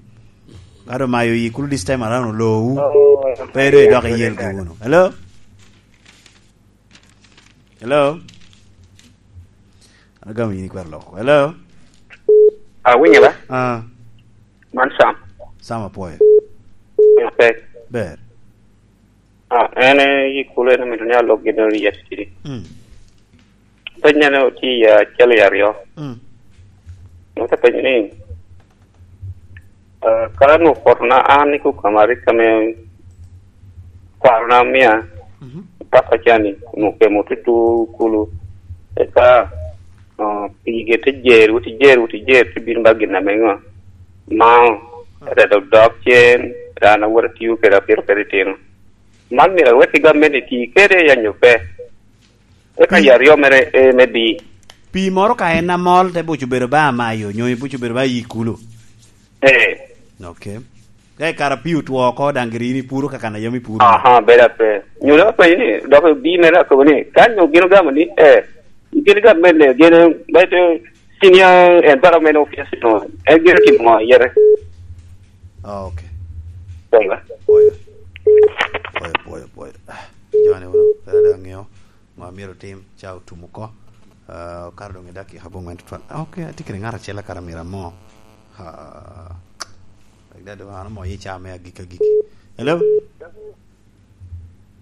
Ka do mayo yi kulu this time around olowu. Oh, pe do idok iyel gi wunu. Hello? Hello? An agamo yin ikwero loko. Hello? Ah, winyo ba? Ah. Man Sam. Sam apwoyo. Matek. Ber. Ah, en, eh, yi kulu en amito ni alok gin ori yet kidi. Mm. Penyo ne oti, ah, acel i aryo. Mm. Ote penyo ni, ah, ka nwo poto na an i kukamari kame kwarona mia, mhm, papa cani, nwo kemo tutu kulu. Eka, ah, pige te jer, wuti jer, wuti jer, te bino ba gin ame ŋo? Mao, ah, te dok dok cen, ran awot atiyo kede apito kede itino. Man myero awek i gamente ti kede ya nyo pe? Eka pi- yat yomere, eh, me di. Pi moro ka en amol te buco bedo ba amayo, nyo ibuco bedo ba yi kulu? Eh. Ok. Ka i kara pi otwo oko, daŋ giri in ipuro ka kan a yam ipuro. Aha, bedo ape. Nyo ne apenyo ni, dok bi mere akobo ni, ka nyo gin ogamo ni, eh, gin gamente, gin, bedo senior environment officer, no, en gin otimo ŋo, yere? Ah, ok. Pwoyo. Pwoyo. Pwoyo, pwoyo, pwoyo. Ah, joni wunu, kara daŋ ŋeo. Ŋo myero otim, ca otum oko. Ah, okato doŋ i dakika abongwen tutwal. Ah, ok, atye kede ŋat acel akato myero amo. Ah, like that, an amo i ca me agik agik. Hello?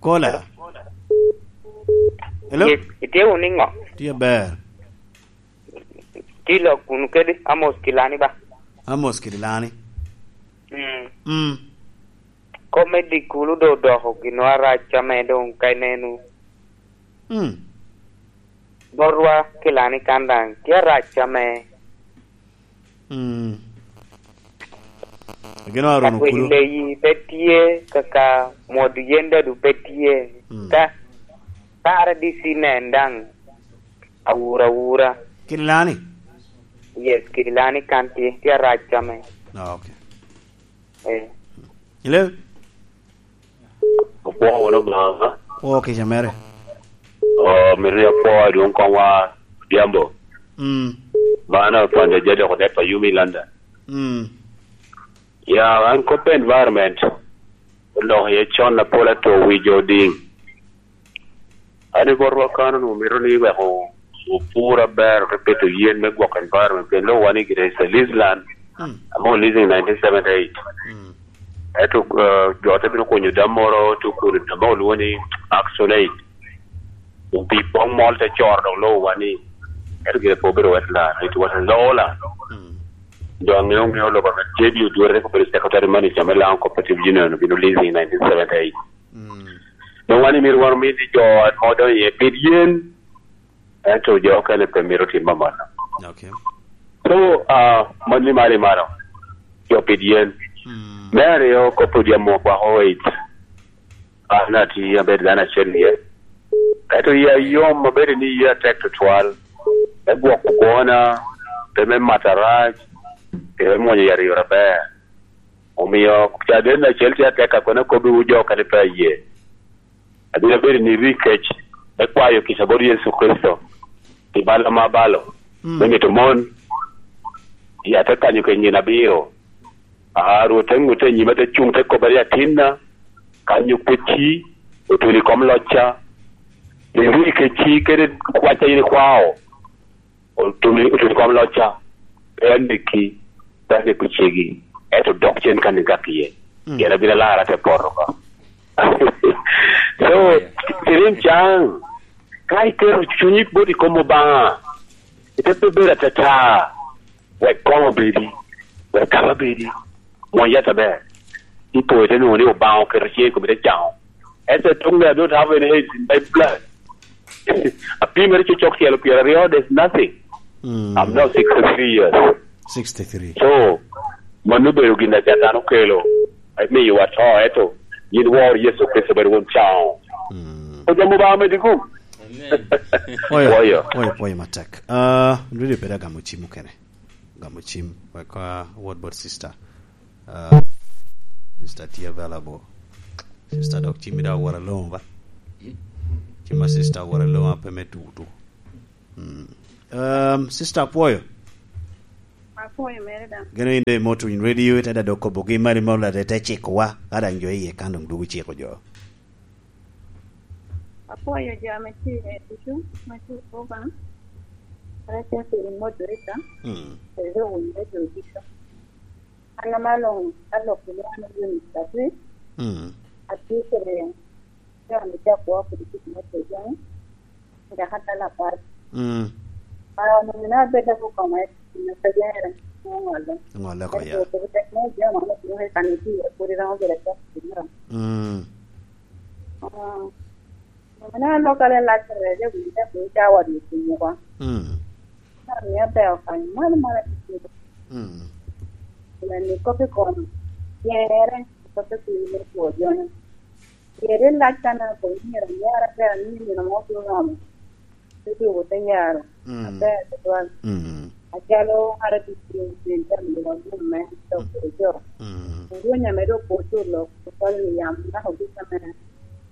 Kola? Hello? Yes, itye wunu i ŋo? Tye ber. Tye lok wunu kede Amos Kilani ba? Amos Kilani. Mm. Mm. Kop me dikulu do odoko gino arac ame doŋ ka ineno. Mm. Botwa Kilani kan daŋ tye arac ame. Mm. Gino arono kulu. Leyi pe tye, kaka mwodo yen dadu pe tye. Mm. Ka, ka R D C nen daŋ, awura awura. Kilani? Yes, Kilani kan tye, tye arac ame. Ah, ok. Eh. Hello? Opwoo wunu Obaŋa. Pwoo kica mere. Oh, mito ni apwo adwoŋ koŋwa Odhiambo. Mm. Man Opande Jadok Odep Ayumi London. Mm. Ya, an kop environment, oloko iye con apol ato wi jo odiŋ. An i botwa kan onwoŋo mito ni wek o-, opur aber, ote pito yen me gwoko environment, pien lobo wan i gire is a lease land, mm, ame o leasing nineteen seventy-eight. Mm. Ento, eh, jo te bino kunyo dam moro, te okuno dam moro olwoŋo ni Action Aid. Opii poŋ mol te coro dok lobo wan ni, ento gire pe obedo wet land, it was a law land. Mm. Jo aŋeo ŋeo lobo ame J B Odwere, rik obedo secretary manager me Lango Cooperative Union, obino leasing in nineteen seventy-eight. Mm. Doŋ wan imito wan omi ni jo amo doŋ iye pit yen, ento jo okene pe mito timo amanno. Ok. So, ah, mano ni malo i malo, jo pit yen. Mm. Me aryo, kop odiamo kwako it. An atye abedo dano acel iye. Ento iya yom abedo ni iya tek tutwal. Me gwoko gwona, pe me mato arac, pe me mwonyo yat i yore aber. Omio caden acel tye atek a kono akobbiwu jo kadi pe aye. Abino bedo ni rik kec me kwayo kica bot Yecu Kricito pi bal ame abalo, mm, me mito mon. I ate kanyo kec nino abiro. A, Rwot te ŋutte i nyima, te cuŋ, te kobba ni, "Atinna, kanyo kecci, otuno i kom locca. Iri kecci kede kwacca in ikwao, otuno, otuno i kom locca. Pe aneki, pe aneko cegi, ento dok cen kan igak iye. Mm. Pien abino alara te poto oko." So, yeah, tirim caŋ, ka iketo cunyi bot i kom Obaŋa, ite pe bedo atata. Wek koŋ obedi, wek kaba bedi, mwony yat aber. Ipo ite nwoŋo ni Obaŋa oketo ciŋe i komi te caŋo. Ese tuŋ me adot have any hate in my blood. Apimere cocok tyelo pyeraryo, there's nothing. Mm. I'm now sixty-three years. Sixty-three. So, mano obedo gin a Catan okelo. Emiyowa to, eto yin wor Yecu Kricito bedo won caŋo. Mm. Ojamo Obaŋa medi gum. Amen. Oyo, oyo, oyo, oyo matek. Ah, ndwiri pede agamo cim okene. Gamo cim, wek, ah, awot bot sister. Ah, sister tye available. Sister dok cimmi dok awot alongo ba? Cim ma sister awot alongo ape me tuku tuku. Mm. Um, sister apwoyo. Apwoyo mere daŋ. Gin oyinde i Motuny Radio, ite daŋ dok kobogi mari mol, ate te cikowa, ka daŋ jo iye kan doŋ dwogo ciko jo. Apwoyo jo ame tye i ducu, ma tye i Cuba, ate tye i moderator, Mm. kede jo winy radio ducu. An ame along, alok i lwak me Eunice Atwir, Mm. atye kede jo ame cak woko kede kit me Cuba. Dako atala apat. Mm. Ah, onongo na abed dako koma i kin apejere, ongolo. Ongolo oko, ya. Ento kede teknolojia man otye i kan itye, pwod iromo bedo acok i kin. Mm. Ah, onongo na alokale lac rece, winyo te piny cawa di i kin wa. Mm. Na miyo beo kanyo, malo malo atye. Mm. Pien ni kop i kom tyere, kop i kin me two joni. Pien lac kan akobo myero anyar aber ni nino mo bino romo, te dwogo te nyaro Mm. aber tutwal. Mm. Acalo ŋat ame tye i kin jami dok gin me dok Mm. kede jo. Mm. Orwenyo ame dok oculo tutwal i yam naka obic ame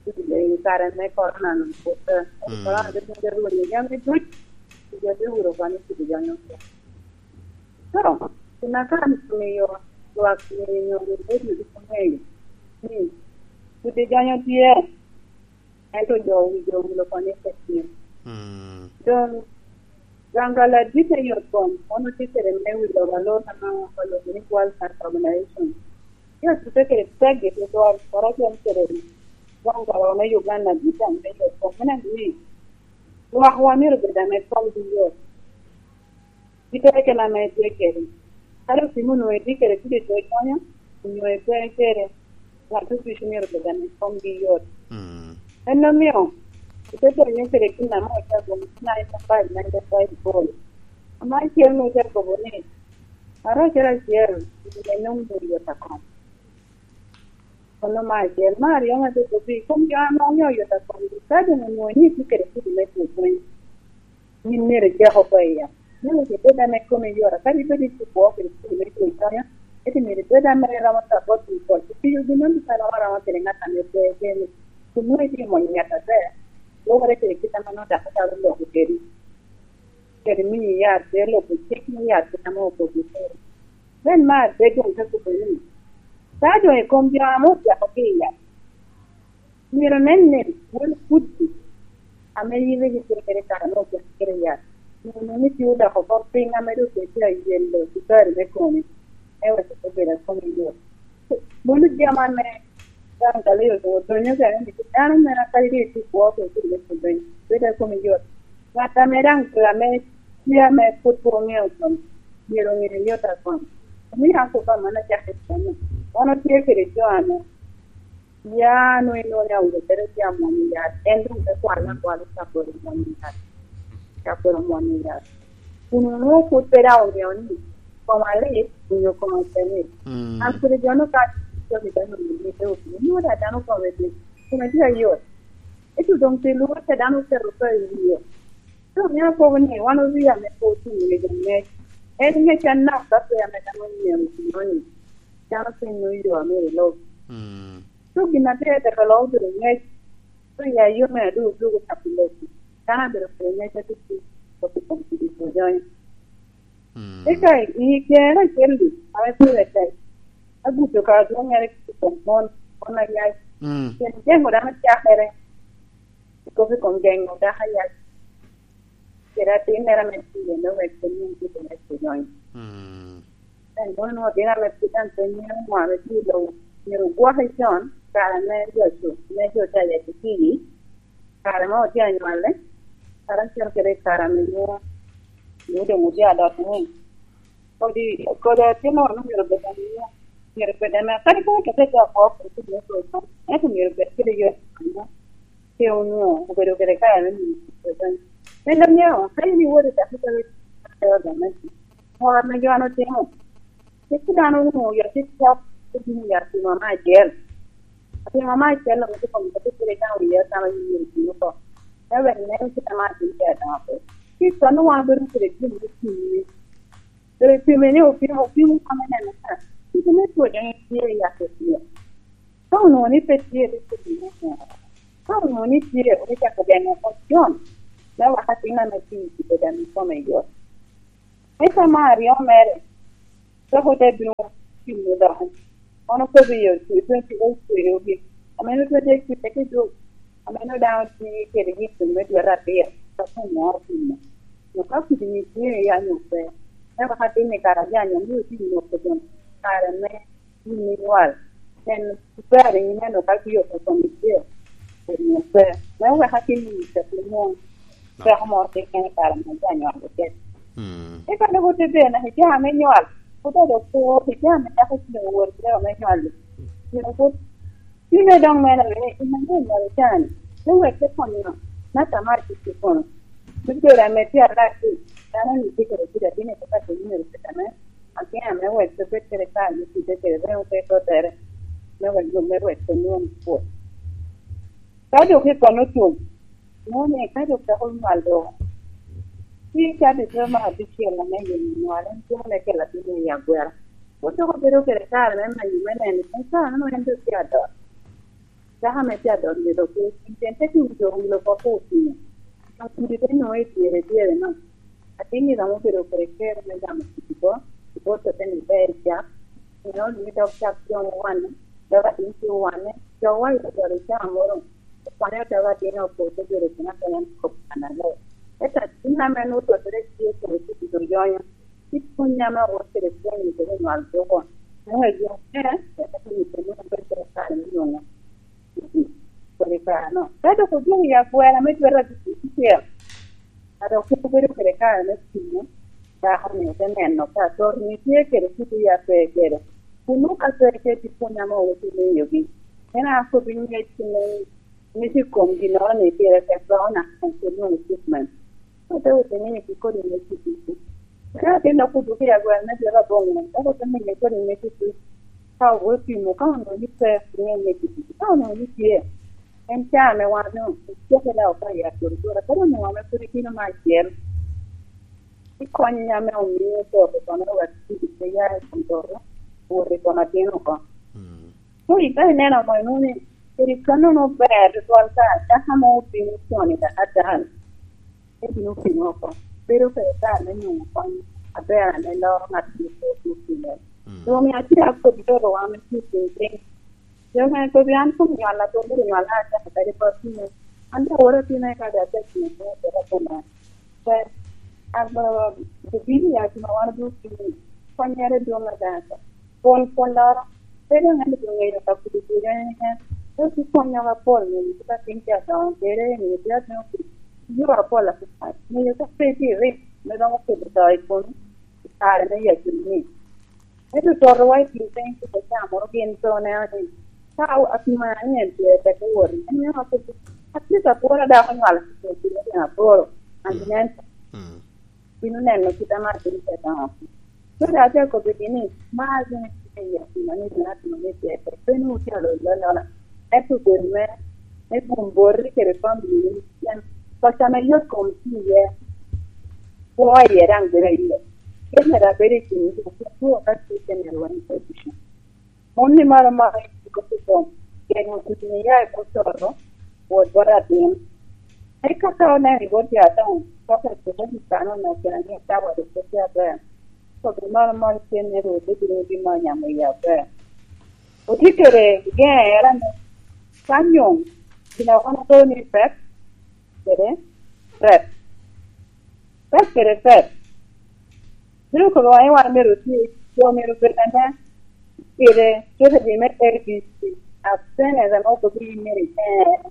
i kare me korona-nu pwod pe. Mm. Korona te dwogo te rwenyo jami duc, jo te wuro oko ni cik jami oko. So, gin a kan omiyo lwak ni nyo redio ducu ŋeyo ni kudi jony tye, ento jo wi jo owilo oko ni pe tye. Mm. Doŋ, Gangala dit i yot kom, en otye kede me wilo oko alor ame oloko ni World Health Organization. Ci otute kede pek i tutwal, koroco kede Gangala me Uganda dit daŋ me yot kom. Meno ni, lwak wa myero obed ame komgi yot. Kite keken ame itye kede. Kadi opimo onwoŋo itye kede kidi to konyo, onyo ipe kede, ŋat oducu myero obed ame komgi yot. Mm. En omio, ite donyo kede gin ame ocago nine to five, nine to five goal. Ame acel onwoŋo ocago kobo ni, ŋat acel acel, gin ame nwoŋo yot akom. Kono me acel, me aryo ŋat okobo i kom jo ame onyo yot akomgi, ka doŋ onwoŋo ni itye kede kidi me two pwony, yin myero icak oko i yam. Myero ibed ame komi yot, kadi bed itye kwo kede kidi me two konyo, ento myero ibed ame iromo support pi kwo. Tiyo gin meno ducu aromo aroma kede ŋat ame pe kene. Kun nwoŋo itye mony ngat aber, lwokere kede kit ame nwoŋo daktar oloko kedi. Kede miyi yat, pe loko cik me yat kit ame okobo kede. Then me adek doŋ te kobo ni, ka doŋ i kom jo ame ocako ki i yat, myero nen ni wun kuc ame yin rik itye kede i kare me ocako kede i yat, myero nwoŋo ni tye odoko oko piny ame doŋ pe tye ayelo sukari me komi, me weko pe bedo a komi yot. Mano jami ame daŋ Galileo doŋ odonyo kene ni dano mere kadi doŋ itye kwo pe itye me pwod donyo, bedo a komi yot. Ŋat ame daŋ pe ame tye ame pwod pe oŋeo komi, myero oŋe yot a komi. Omio an kobba man acakki kono. Wan otye kede jo ame ya nwoŋo inwoŋo ni awinyo bedo tye amwonyo yat, en doŋ te kwalo akwala i kabedo mwonyo yat. Kabedo mwonyo yat. Kun onwoŋo pwod pe daŋ oŋeo ni koma lit, onyo koma pe lit. Mm. An kede jo-nu ka cok i dano ni te obi, inwoŋo daŋ dano kome lit. Kome tye ayot. Ento doŋ pi lwor ca dano oketo ka i wie. Doŋ mio akobo ni wan oria ame pe otuŋ i ŋec angec. En ŋec anok ka pe ame dano onyeo i pi moni. Dano pe nyo yo ame ilub. Mm. So gin atir tek alo obedo ŋec. So ya yo me adwogo dwogo ka pi lobo. Dano abedo kede ŋec atutuŋ, kop i kom kidi pwony. Mm. Eka i kare acel-li, ame pire tek, agudo ka adwoŋŋere i kom mon, mon ayac. Mm. Pien geŋo dano cakere, i kop i kom geŋo dako ayac. Kede atimmere ame tye me wek pe nwoŋ kite me pwony. Mm. En mono nwoŋo otino ame pwod daŋ pe ŋeo ŋo ame tye i lobo, myero ogwoke con, kare me jo cu, me jo ca yec otii, kare ma otye anywale, kare acel kede i kare ame nwoŋo, nwoŋo doŋ otye adot ni, kodi, kodi atin nono myero obed ame, myero obed ame, kadi ka otete dok oko, ento myero obed kede yot, pe onwoŋo obedo kede kare me miyo. En ame, ka in iwoto i dakitari, Ŋo ame jo-nu otimo? Cik dano onwoŋo oyot i cok, obino ya atimo me acel. Atimo me acel onwoŋo tye kome kadi pire ka oye atama i myero otimo oko. Me wek nen kit ame atin tye adongo pe. Ci i con wan obedo kede gin me pimi. Doŋ ipime ni opimo, opimo kome neno ka kit me two joni tye i yat otye. Ka onwoŋo ni pe tye, rik obino neno. Ka onwoŋo ni tye, obicako geŋo oko con, me wek atin ame tye i kome daŋ ikome yot. Eka me aryo mere, Dok ote bino timo dok. Kono kobbi yo, twenty eight kwedogi. Ameno twenty eight kwedogi dok. Ameno daŋ otye kede gin me dwe aryo, ka kun moro timo. Dok ka kudi ni tye ya nyo pe. Eka ka tin i kare ajanyo, ni otye i noko dong. Kare me gin me nywal. En ber i nyime no ka gin okoto ni tye. Onyo pe. Me weka tin i noko dong. Peko moro keken i kare me ja nywal oket. Mm. Eka dok ote bene i jami me nywal, ote dok pur i jami me dako cilo wot i jami me nywal. Pien pwod cwinye dong mene ni, "In anyo nywal i jami, me wek te konyo ng'at a mar cik i kono." Me bedo ame tye alac, dano ni tye kede kite, atye ni tye ka timo myero kit ame, akia ame wek pe bed kede kare me kite kede remo pe totere, me wek, me wek pe nwoŋo pwod. Ka dok i kono otum, nwoŋo ni ka dok dako nywal dok, ci cabit me abicel ame yom nywal en cwalo me kelo atin i agwela. Pwod dok obedo kede kare me manyo me neno ni kare-nu en dok tye adot. Dako ame tye adot myero dok pe ocwiny, pien te tum jo owilo oko pe ocwinyo. Dok kudi te nwoŋo i dyere dyere-no. Atin-ni romo bedo kede kero me gamo kidi bo, i bot ote ni ber cak, pien onwoŋo dok cak doŋ owanne, dok atin tye owanne, jo wa i odolo caa moro, okwanya dok atin opo te bedo kena kena kop kannaler. Ento atin ame nwoŋo tottere tye kede kidi oyonyo, ci pwony ame owot kede pwony i kede nywal doko, nwoŋo eyo mere, eka tye i kede nwoŋo bedo kede kare me nwoŋo kodi kare-no. Ka dok odwogo i agwela me dwe abicel, a dok obedo kede kare me pimo, dako-ni ote neno ka ator-ni tye kede kite ya pe kede. Kun nwoŋo ka pe kede pwony ame owot i miyogi, en a kobbi ngec me, ngec i kom ginnoro-ni pire tek dok onako kede nwoŋo treatment. Ote wot i miyogi kodi ngec i ducu. Ka atin dok odwogo i agwela me dwe aboŋo, dok ote miye kodi ngec i ducu. Ka owot pimo, ka onwoŋo ni pe, miye ngec i ducu. Ka onwoŋo ni tye, en caa ame wan onwoŋo ocako daŋ oka i aturtura, kadi onwoŋo ame pwod itino me acel, ikonyo ame omio oto oko kono wek kidi pe ya i kom toto, owot i kom atin oko. Mm. So, ika ineno amo inwoŋo ni kadi kannono ber tutwal ka dako amo obino con i dakatari, te bino pimo oko. Bedo kede kare me nwoŋo kony aber ame loro ŋat ame pe otye pire. Mm. Doŋ omio atye akobbi loro wan me tye piny piny. Jo me kobbi an kun nywal atwon bedo nywal a acako kadi bot piny. An daŋ aworo atina i kare acel piny piny piny piny. Ber, an, obino i akina wan obino tye konyere dwoŋ adada. Pwony pwonyoro, pe dong en obino ŋeyo ka pud obino en, en, en tye konyowa pol, ŋeyo ka tin tye adoŋo kede, ŋeyo tye adoŋo kede, yore apol apapat, ŋeyo ka pe tye i rik, me romo kelo to i komi, i kare me yacu ni. Ento totowa i kin piny, kit acaa moro gin pe oneno ni, ka apima ni en tye tek owot, en mio akobo, atye ka pworo dako nywalo kite kite tyen aboro, an nen. Mm. Bino neno kit ame atye ka dongo. Kede atye akobbigi ni, mar gin tye i akina ni gin atimo ni tye tek, pe ni wutye alolo alola, ento bedo me, me gum boti kede famili ni, pien paco ame yot kom tye iye, kwo iye daŋ bedo iye. Pien myero abedo i kin jo, pien two ka tye te myero wan i position. Mon ni maro maro i kop i kom, pien otutuni ya i kop toto, wot bot atin. Eka ka oneno i bot jo adoŋo, kop i kop i kano me kena ni ka wot i kop i aber. Kop i maro maro tye ni Rwot bibino bino nyamo i aber. Otye kede geŋere ni, ka nyom, gin a wan okobo ni pek, kede pek. Pek kede pek. Bino kobo ni wan myero oti, jo myero bed ame kede strategy me A B C. As soon as ame okobo ni myero iter,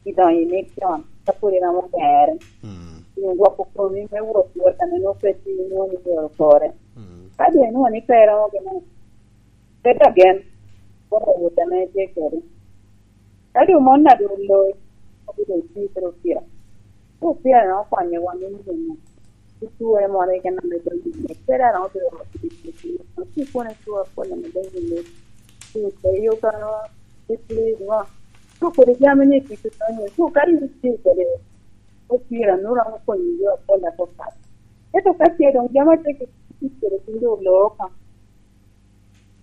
idonyo i mission, ka pwod iromo tere. Mm. Nyo gwoko komi me wot wot ame nwoŋo pe tye inwoŋo ni myero okore. Mm. Ka doŋ inwoŋo ni pe iromo gin, bed agen, gwoko wot ame itye kede. Ka doŋ mon a doŋ oloi, obedo tye kede opira. Ka opira no okonyowa me nwoŋo i ture moro keken ame doŋ yie. Pe dano obedo ot i tic, tic, tic, tic, kono icwor pol ame doŋ yie. Tic, eyo kano, tic, tic, ngo. Ka kodi jami ni tic, tic, tic, tic, ka in itye kede opira, nwoŋo romo konyi i yo apol apapat. Ento ka tye doŋ jami atye ki tic kede piny doŋ oloo oko.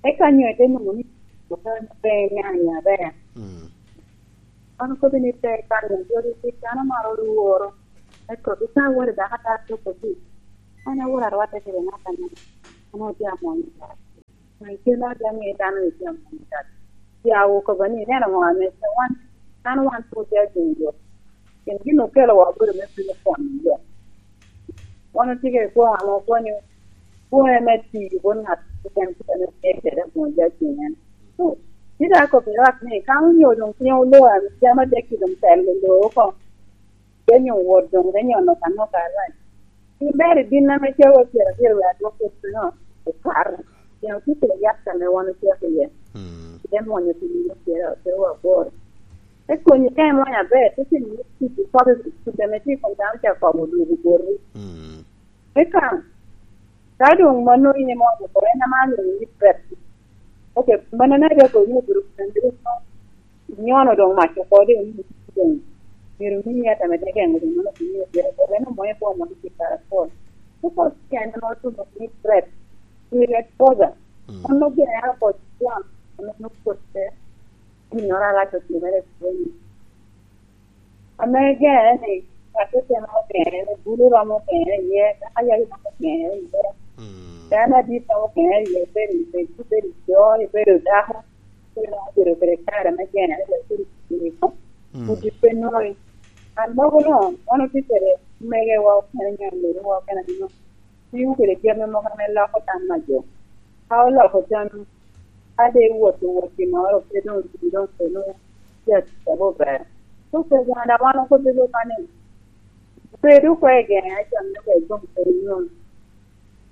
Eka nyo ite nwoŋo ni, "Okan pe niaŋ aber." Mm. An okobo ni pe kan nyo jodi tic, an amaro lworo. Ento ika awot i dako ata to kodi, an awot arwatte kede ŋat anaka. An atye amony tat. An kelo atye amiyo dano ni tye amony tat. Ci awo kobo ni, "Ineno ŋo ame tye wan? An wan pwod tye ajeŋ jo. Pien gin okelowa obedo me piny kwon jo. Wan otye kede kwo ame okonyo, kwo me tiyo bot ngat keken kit ame tye kede abongo jo ajeŋ en." Ci dok akobbi lwak ni, "Ka onyo doŋ piny oloo, jami adek-ki doŋ telo loo oko." Te nyo wot doŋ te nyono kano ka arac. Pien ber ibin ame cawa pyerabiro wek adwok kec piny okato. Pien otye kede yat ame wan ocako iye. Mm. Te mwonyo pi nino pyerabiro aboro. Te konyi ka imwonyo aber, te timo ni tic i kop i tic ame tye i kom dano ca kobo odwogo boti. Mm. Eka, ka doŋ mano in imwonyo oko, en ame alwongo ni prep. Ok, mannono rik obedo kende. Nyono doŋ mac oko doŋ, doŋ myero omi yat ame te geŋo doŋ mano omiyo pire, pien en omwoyo bwom ame tye kare apol. Te kor tyen ame otuno ni prep, period closure. Mm. Mano gire oko cwan, ame nwoŋo kotte, ginnoro arac otimere i pwonyo. Ame gere ni, ngat otemo ogere, bulu romo ogere iye, dako ayaye romo ogere iye. Mm. Dano adit romo ogere iye, ibedo i bedo, ibedo i jo, ibedo dako. Pien obedo kede kare me gene, aryo kede cwiny i kom. Mm. Udi pe nwoŋi. An mogo no, wan otye kede megewa okene, nyo amerowa okene, nyo tiyo kede jami mogo ame loko tam a jo. Ka oloko tam, ka de iwot, iwot ginnoro, pe doŋ, doŋ pe nwoŋo tye atic a ber. So, pe gana wan okobbi lok ni, bedo kwe i gene, acammi kwe i kom pe nwoŋo.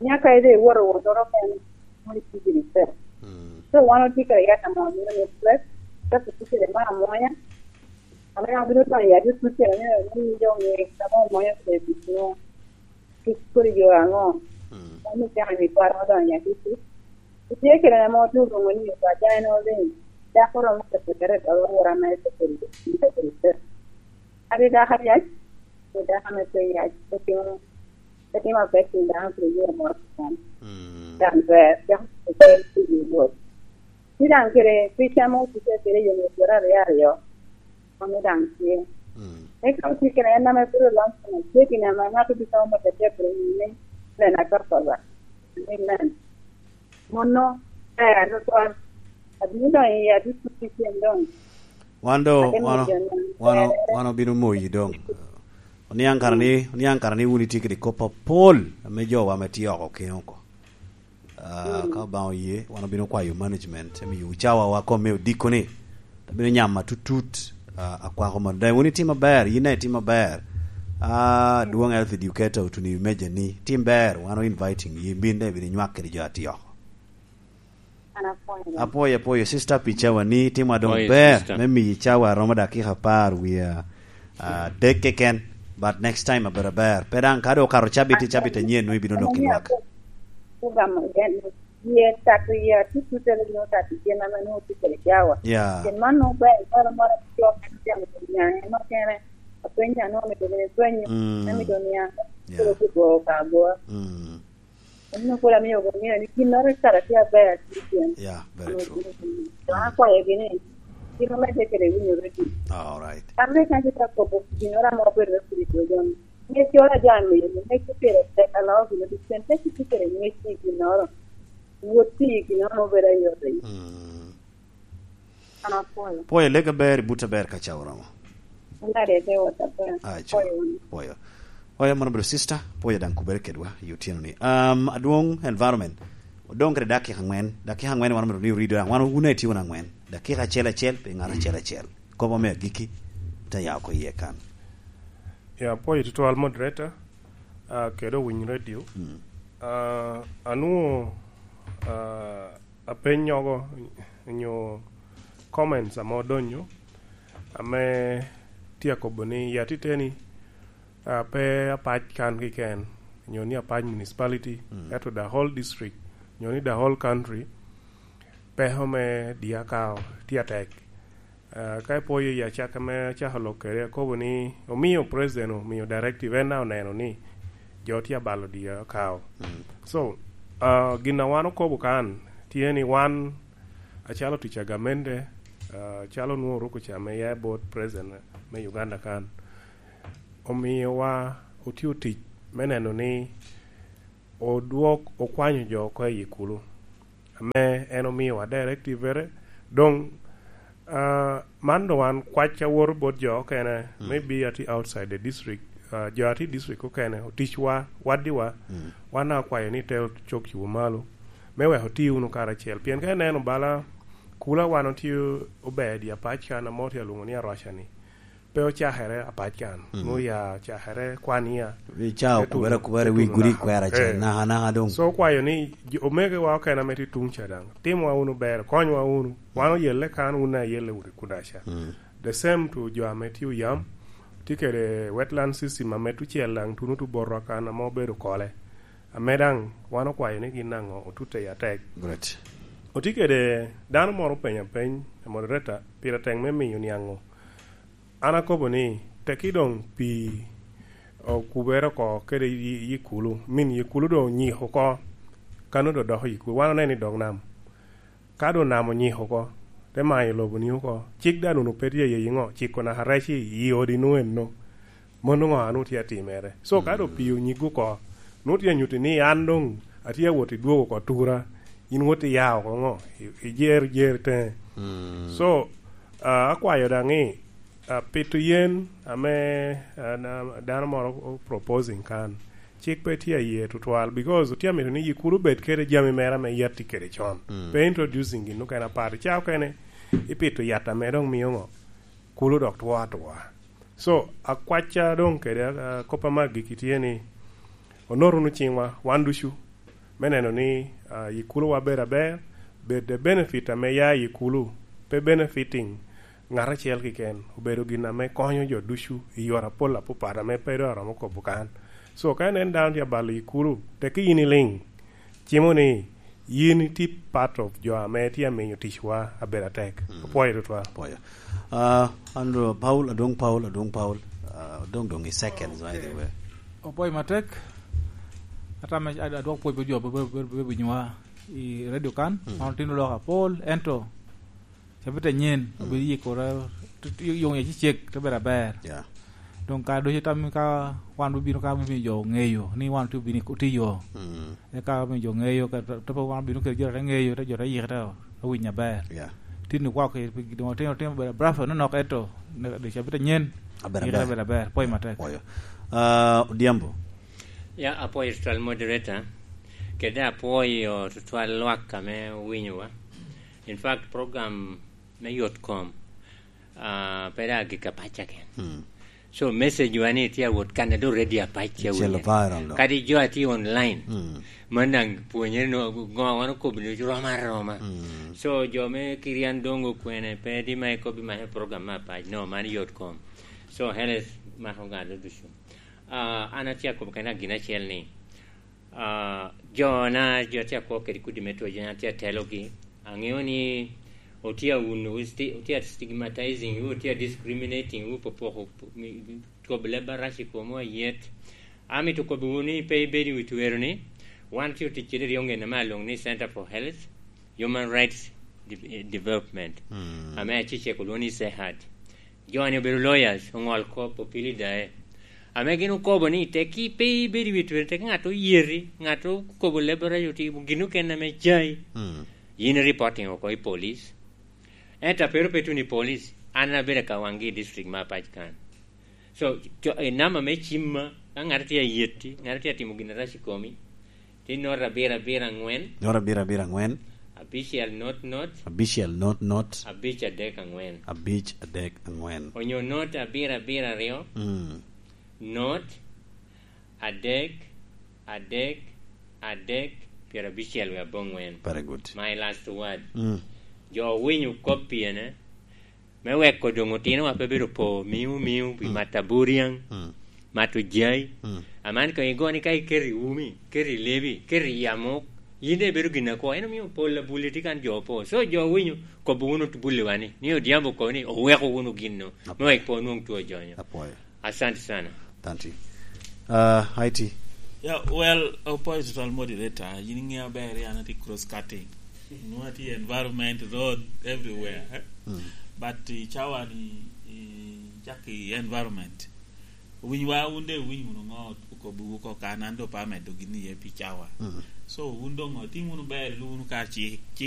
Nyaka ide iwoto wotoro ken, moni tye gini tek. Mm. So, wan otye kede yat amo mino ni prep, ka tye kede mar amonya, ame abino donyo i yat i tucere ni, ni jo ŋe, kama omonya kede bicino, kit kodi yo aŋo. Mm. Wan ni caka ni kwaro odonyo i yat i tuc. Itye kede amo otuno ni, "Paca en oliŋ, dako romo keto kede dolo wora mere kede, kede, kede." Adi dako aryaj, kede dako ame pe yac, pe timo Pe timo apek i dano kede yo moro keken. Mm. Daŋ ber, dok okel pi wi Rwot. Ci daŋ kede pi cam otuce kede yo myero pyeraryo aryo, mano daŋ tye. Mm. Eka otye kede en ame bino lom kun tye gin ame ŋat obikobo mot atek kede nyime, nen akakaba. Amen. Mono ber tutwal. Abino doŋ i adit tutucen doŋ. Wan do, Ate wano, miyo jo wano, ber. Wano obino moyi doŋ. Oniaŋ kara ni, oniaŋ kara ni wun itye kede kop apol ame jowa ame tye oko keŋ oko. Ah, mm, ka Obaŋa oye, wan obino kwayo management, emiyo cawawa kom me odiko ni, abino nyamo atutut, ah, akwako mono. Daŋ wun itimo aber, yin daŋ itimo aber. Ah, Adwoŋ Health Educator otuno i meja ni, tim ber, wan o inviting, yin bin daŋ ibino inywak kede jo atye oko. An apwoyo. Apwoyo, apwoyo, sister, pi cawa ni, timwa doŋ ber, sister, me miyi cawa romo dakika apar wie, ah, adek keken, but next time abedo aber. Pe daŋ ka doŋ okato cabit, i cabit anyen, nwoŋo ibino dok i lwak. Program, Ye tato ye atutut ame nwoŋo tato gin ame nwoŋo tye kede cawa. Yeah. Pien man nwoŋo ber, moro moro ame jo mito jamo pi nyaŋe nokene. Apenyo a nwoŋo mito bino penyo, mm, ame mito niaŋ, yeah, kede kigoo ka agoa. Mm. Eno pwod amio obedo ŋeo ni ginnoro i kare tye aber atye tyen. Yeah, very true. Dok akwayogi ni, gin omedde kede winyo redio. All right. Ame kan tye ka kobo ginnoro ame obedo me pwod i dwogo ni. Ŋec oro a jo a miyo, ŋec pire tek, aloo gin ducu, pien pe kitye kede ŋec i ginnoro, wot tiyo i ginnoro obedo ayot i. Mm. An apwoyo. Pwoyo, lega ber, i butte ber ka ca oromo. Olade te wot aber. Ai, co. Apwoyo wunu. Pwoyo. Oya, mono obedo sister, pwoyo daŋ kubere kedwa i otyeno ni. Um, Adwoŋ Environment, odoŋ kede dakika aŋwen, dakika aŋwen wan omito ni orido daŋ, wan wun aye tye wunu aŋwen, dakika acel acel, pi ŋat acel acel. Kobo me agikki, te ya oko iye kan. Ya, apwoyo tutwal moderator, ah, kede owiny radio. Mm. Ah, anwoŋo, ah, apenyogo nyo comments ame odonyo, ame tye akobo ni, ya titeni, ah, pe apac kan keken, nyo ni apac municipality, mm, ento the whole district, nyo ni the whole country, peko me diakao tye atek. Ah, ka ipwoyo i acakka me acako lok kede, akobo ni omio president omio directive, en daŋ oneno ni jo tye abalo diakao. Mm. So, ah, gin a wan okobo kan tye ni wan acalo tic a gamente, ah, calo nwoŋo oruko ca me ya bot president me Uganda kan, omiowa otio tic me neno ni odwok okwanyo jo oko i Ikulu, ame en omiwa directive-ere. Doŋ, ah, man doŋ wan kwac awoto bot jo okene, mm, maybe atye outside the district, ah, jo atye i district okene, oticwa, waddiwa, mm, wan akwayo ni te ocok cubo malo, me wek oti wunu karacel. Pien ka ineno bala Kula wan otye ober i Apac kan, ame otye alwoŋo ni Aroca-ni, pe ocakere Apac kan, mm, nwoŋo ya cakere Kwania. Wi ca okubere akubere wi gudi kwera ce, eh, naka naka doŋ. So, okwayo ni jo, omegowa okene ame tye tuŋ ca daŋ, timwa wunu ber, konywa wunu. Wan oyelle kan, wun ayelle wunu kuda ca. Mm. The same to jo ame tye oyam, tye kede wetland system ame tucel daŋ tuno tubotwa kan ame obedo kole. Ame daŋ wan okwayo ni gin aŋo otute i atek. Great. Otye kede dano moro openyo apeny, moderator, pire tek me miyo niaŋ-ŋo? An akobo ni, teki doŋ pii okubere oko kede yi, yi Kulu, min yi Kulu doŋ onyiko oko, kano doŋ doko yi Kulu. Wan oneno i dog nam. Ka doŋ nam onyiko oko, te mayo lobo-ni oko, cik daŋ onwoŋo pe tye iye iŋo? Ciko naka rec i, i odi-nu eno. Mano ŋo a nwoŋo tye atimere? So, ka doŋ pii onyiggo oko, nwoŋo tye anyutti ni an doŋ atye awot i dwogo oko tura, in wot iya oko ŋo? I, i jer, jer teŋe. Mm. So, ah, akwayo daŋ ni, ah, pito yen ame, ah, na, dano moro o proposing kan, cik pe tye aye tutwal, because otye amito ni yi Kulu obed kede jami mere ame yat tye kede con. Mm. Pe introducing gin okene apar. Ca okene ipito yat ame doŋ mio ŋo? Kulu dok two atwa. So, akwacca doŋ kede, ah, kop ame agikki tye ni, onot wunu ciŋwa, wan ducu, me neno ni, ah, yi Kuluwa bedo aber, bed the benefit ame ya i Kulu, pe benefiting ŋat acel keken, obedo gin ame konyo jo ducu i yore apol apapat ame pe doŋ aromo kobo kan. So, ka inen dano tye abalo yi Kulu, teki yin iliŋ, cimo ni yin itye part of jo ame tye amiyo ticwa abedo atek. Mm. Apwoyo tutwal. Apwoyo. Ah, Andrew Paul, Adwoŋ Paul, Adwoŋ Paul, ah, doŋ, doŋ i seconds, by the way. Opwoyo matek. Ata me ad-, adwok pwoc bot jo be, be, be, be, be nywa i radio kan, mm, man otino lok apol, ento cabit anyen, mm, obedo yikore, t-, t-, yung ya cicek, te bedo aber. Yeah. Doŋ ka doŋ tam ka wan obino ka me miyo jo ŋeyo ni wan otye obino i, otye i yo. Mm. Eka omiyo jo ŋeyo, ka to, to pe wan obino kede jo te ŋeyo, te jo te yike, te, te winyo aber. Yeah. Tin okwako i, pi, doŋ otino, otino bedo bravo nonok, ento ne, dok cabit anyen, aber yike te aber. Bedo aber. Pwoyo matek. Pwoyo. Ah, Odhiambo. Ya, apwoyo tutwal moderator, kede apwoyo tutwal lwak ame owinyowa. In fact, program me yot kom, ah, pe dok agikki Apac keken. Mm. So, message wa ni tye awot kan a doŋ ready Apac ca. Celo awinyo. Viral doŋ. Kadi jo a tye online, mm, man daŋ pwonyere no, ŋo wan okobo ni rom aroma. Mm. So, jo me Kirian doŋ okwene, pe di ma ikobi ma program me Apac. No, man yot kom. So, Heles mako ŋat ducu. Ah, an atye akobo kena gin acel ni, ah, jo na, jo tye akwo kede kudi me two, jo na tye atelogi, aŋeo ni otye awuno wu, sti-, otye a stigmatizing wu, otye a discriminating wu, popoko, mi, kobo leb arac i komwu ayet. Amito kobo wu ni pe ibed i wi twero ni, wan tye otic kede ryoŋ en ame alwoŋo ni Center for Health, Human Rights De-, Development, mm, ame acecek olwoŋo ni CEHAD. Jo-ni obedo lawyers, oŋol kop, opili dae. Ame gin okobo ni, teki pe ibedo i wi twero, teki ŋat oyeti, ŋat okobo leb arac otimo gin okene ame jai. Mm. Yin reporting oko i police. Ento a pe ru pe tuno i police, an abedo ka waŋgi i district me Apac kan. So, co-, i namba me cim ma, ka ŋat tye ayetti, ŋat tye atimo gin arac i komi, ti not abiro abiro aŋwen. Not abiro abiro aŋwen. Abicel not not. Abicel not not. Abic adek aŋwen. Abic adek aŋwen. Onyo not abiro abiro aryo. Mm. Not adek, adek, adek, pyerabicel wie aboŋwen. Very good. My last word. Mm. Jo owinyo kop piene, me weko doŋ otinowa pe bedo po miu miu pi, mm, mato aburiaŋ, mm, mato jai. Mm. Aman koŋ igo ni ka iketo i umi, keto i lebi, keto i amok, yin daŋ ibedo gin akwo. En omio pol abuli tye kan jo opo. So jo owinyo, kobo wunu bulliwa ni, ni Odhiambo okobo ni oweko wunu gin-nu, me wek pe onwoŋ two jonyo. Apwoyo. Asante sana. Thank you. Uh, I T. Yeah, well, opposite al moderator, yin iŋeo ber, an atye cross cutting. Nwa atye environment, road, everywhere, eh? Mm. But, eh, cawa ni, eh, cak i environment. Owinyowa wun de, iwiny wunu ŋo okobbiwu oko kan, an doŋ pe amedo gin iye pi cawa. So wun doŋ otim wunu ber, ilu wunu kar cik, cik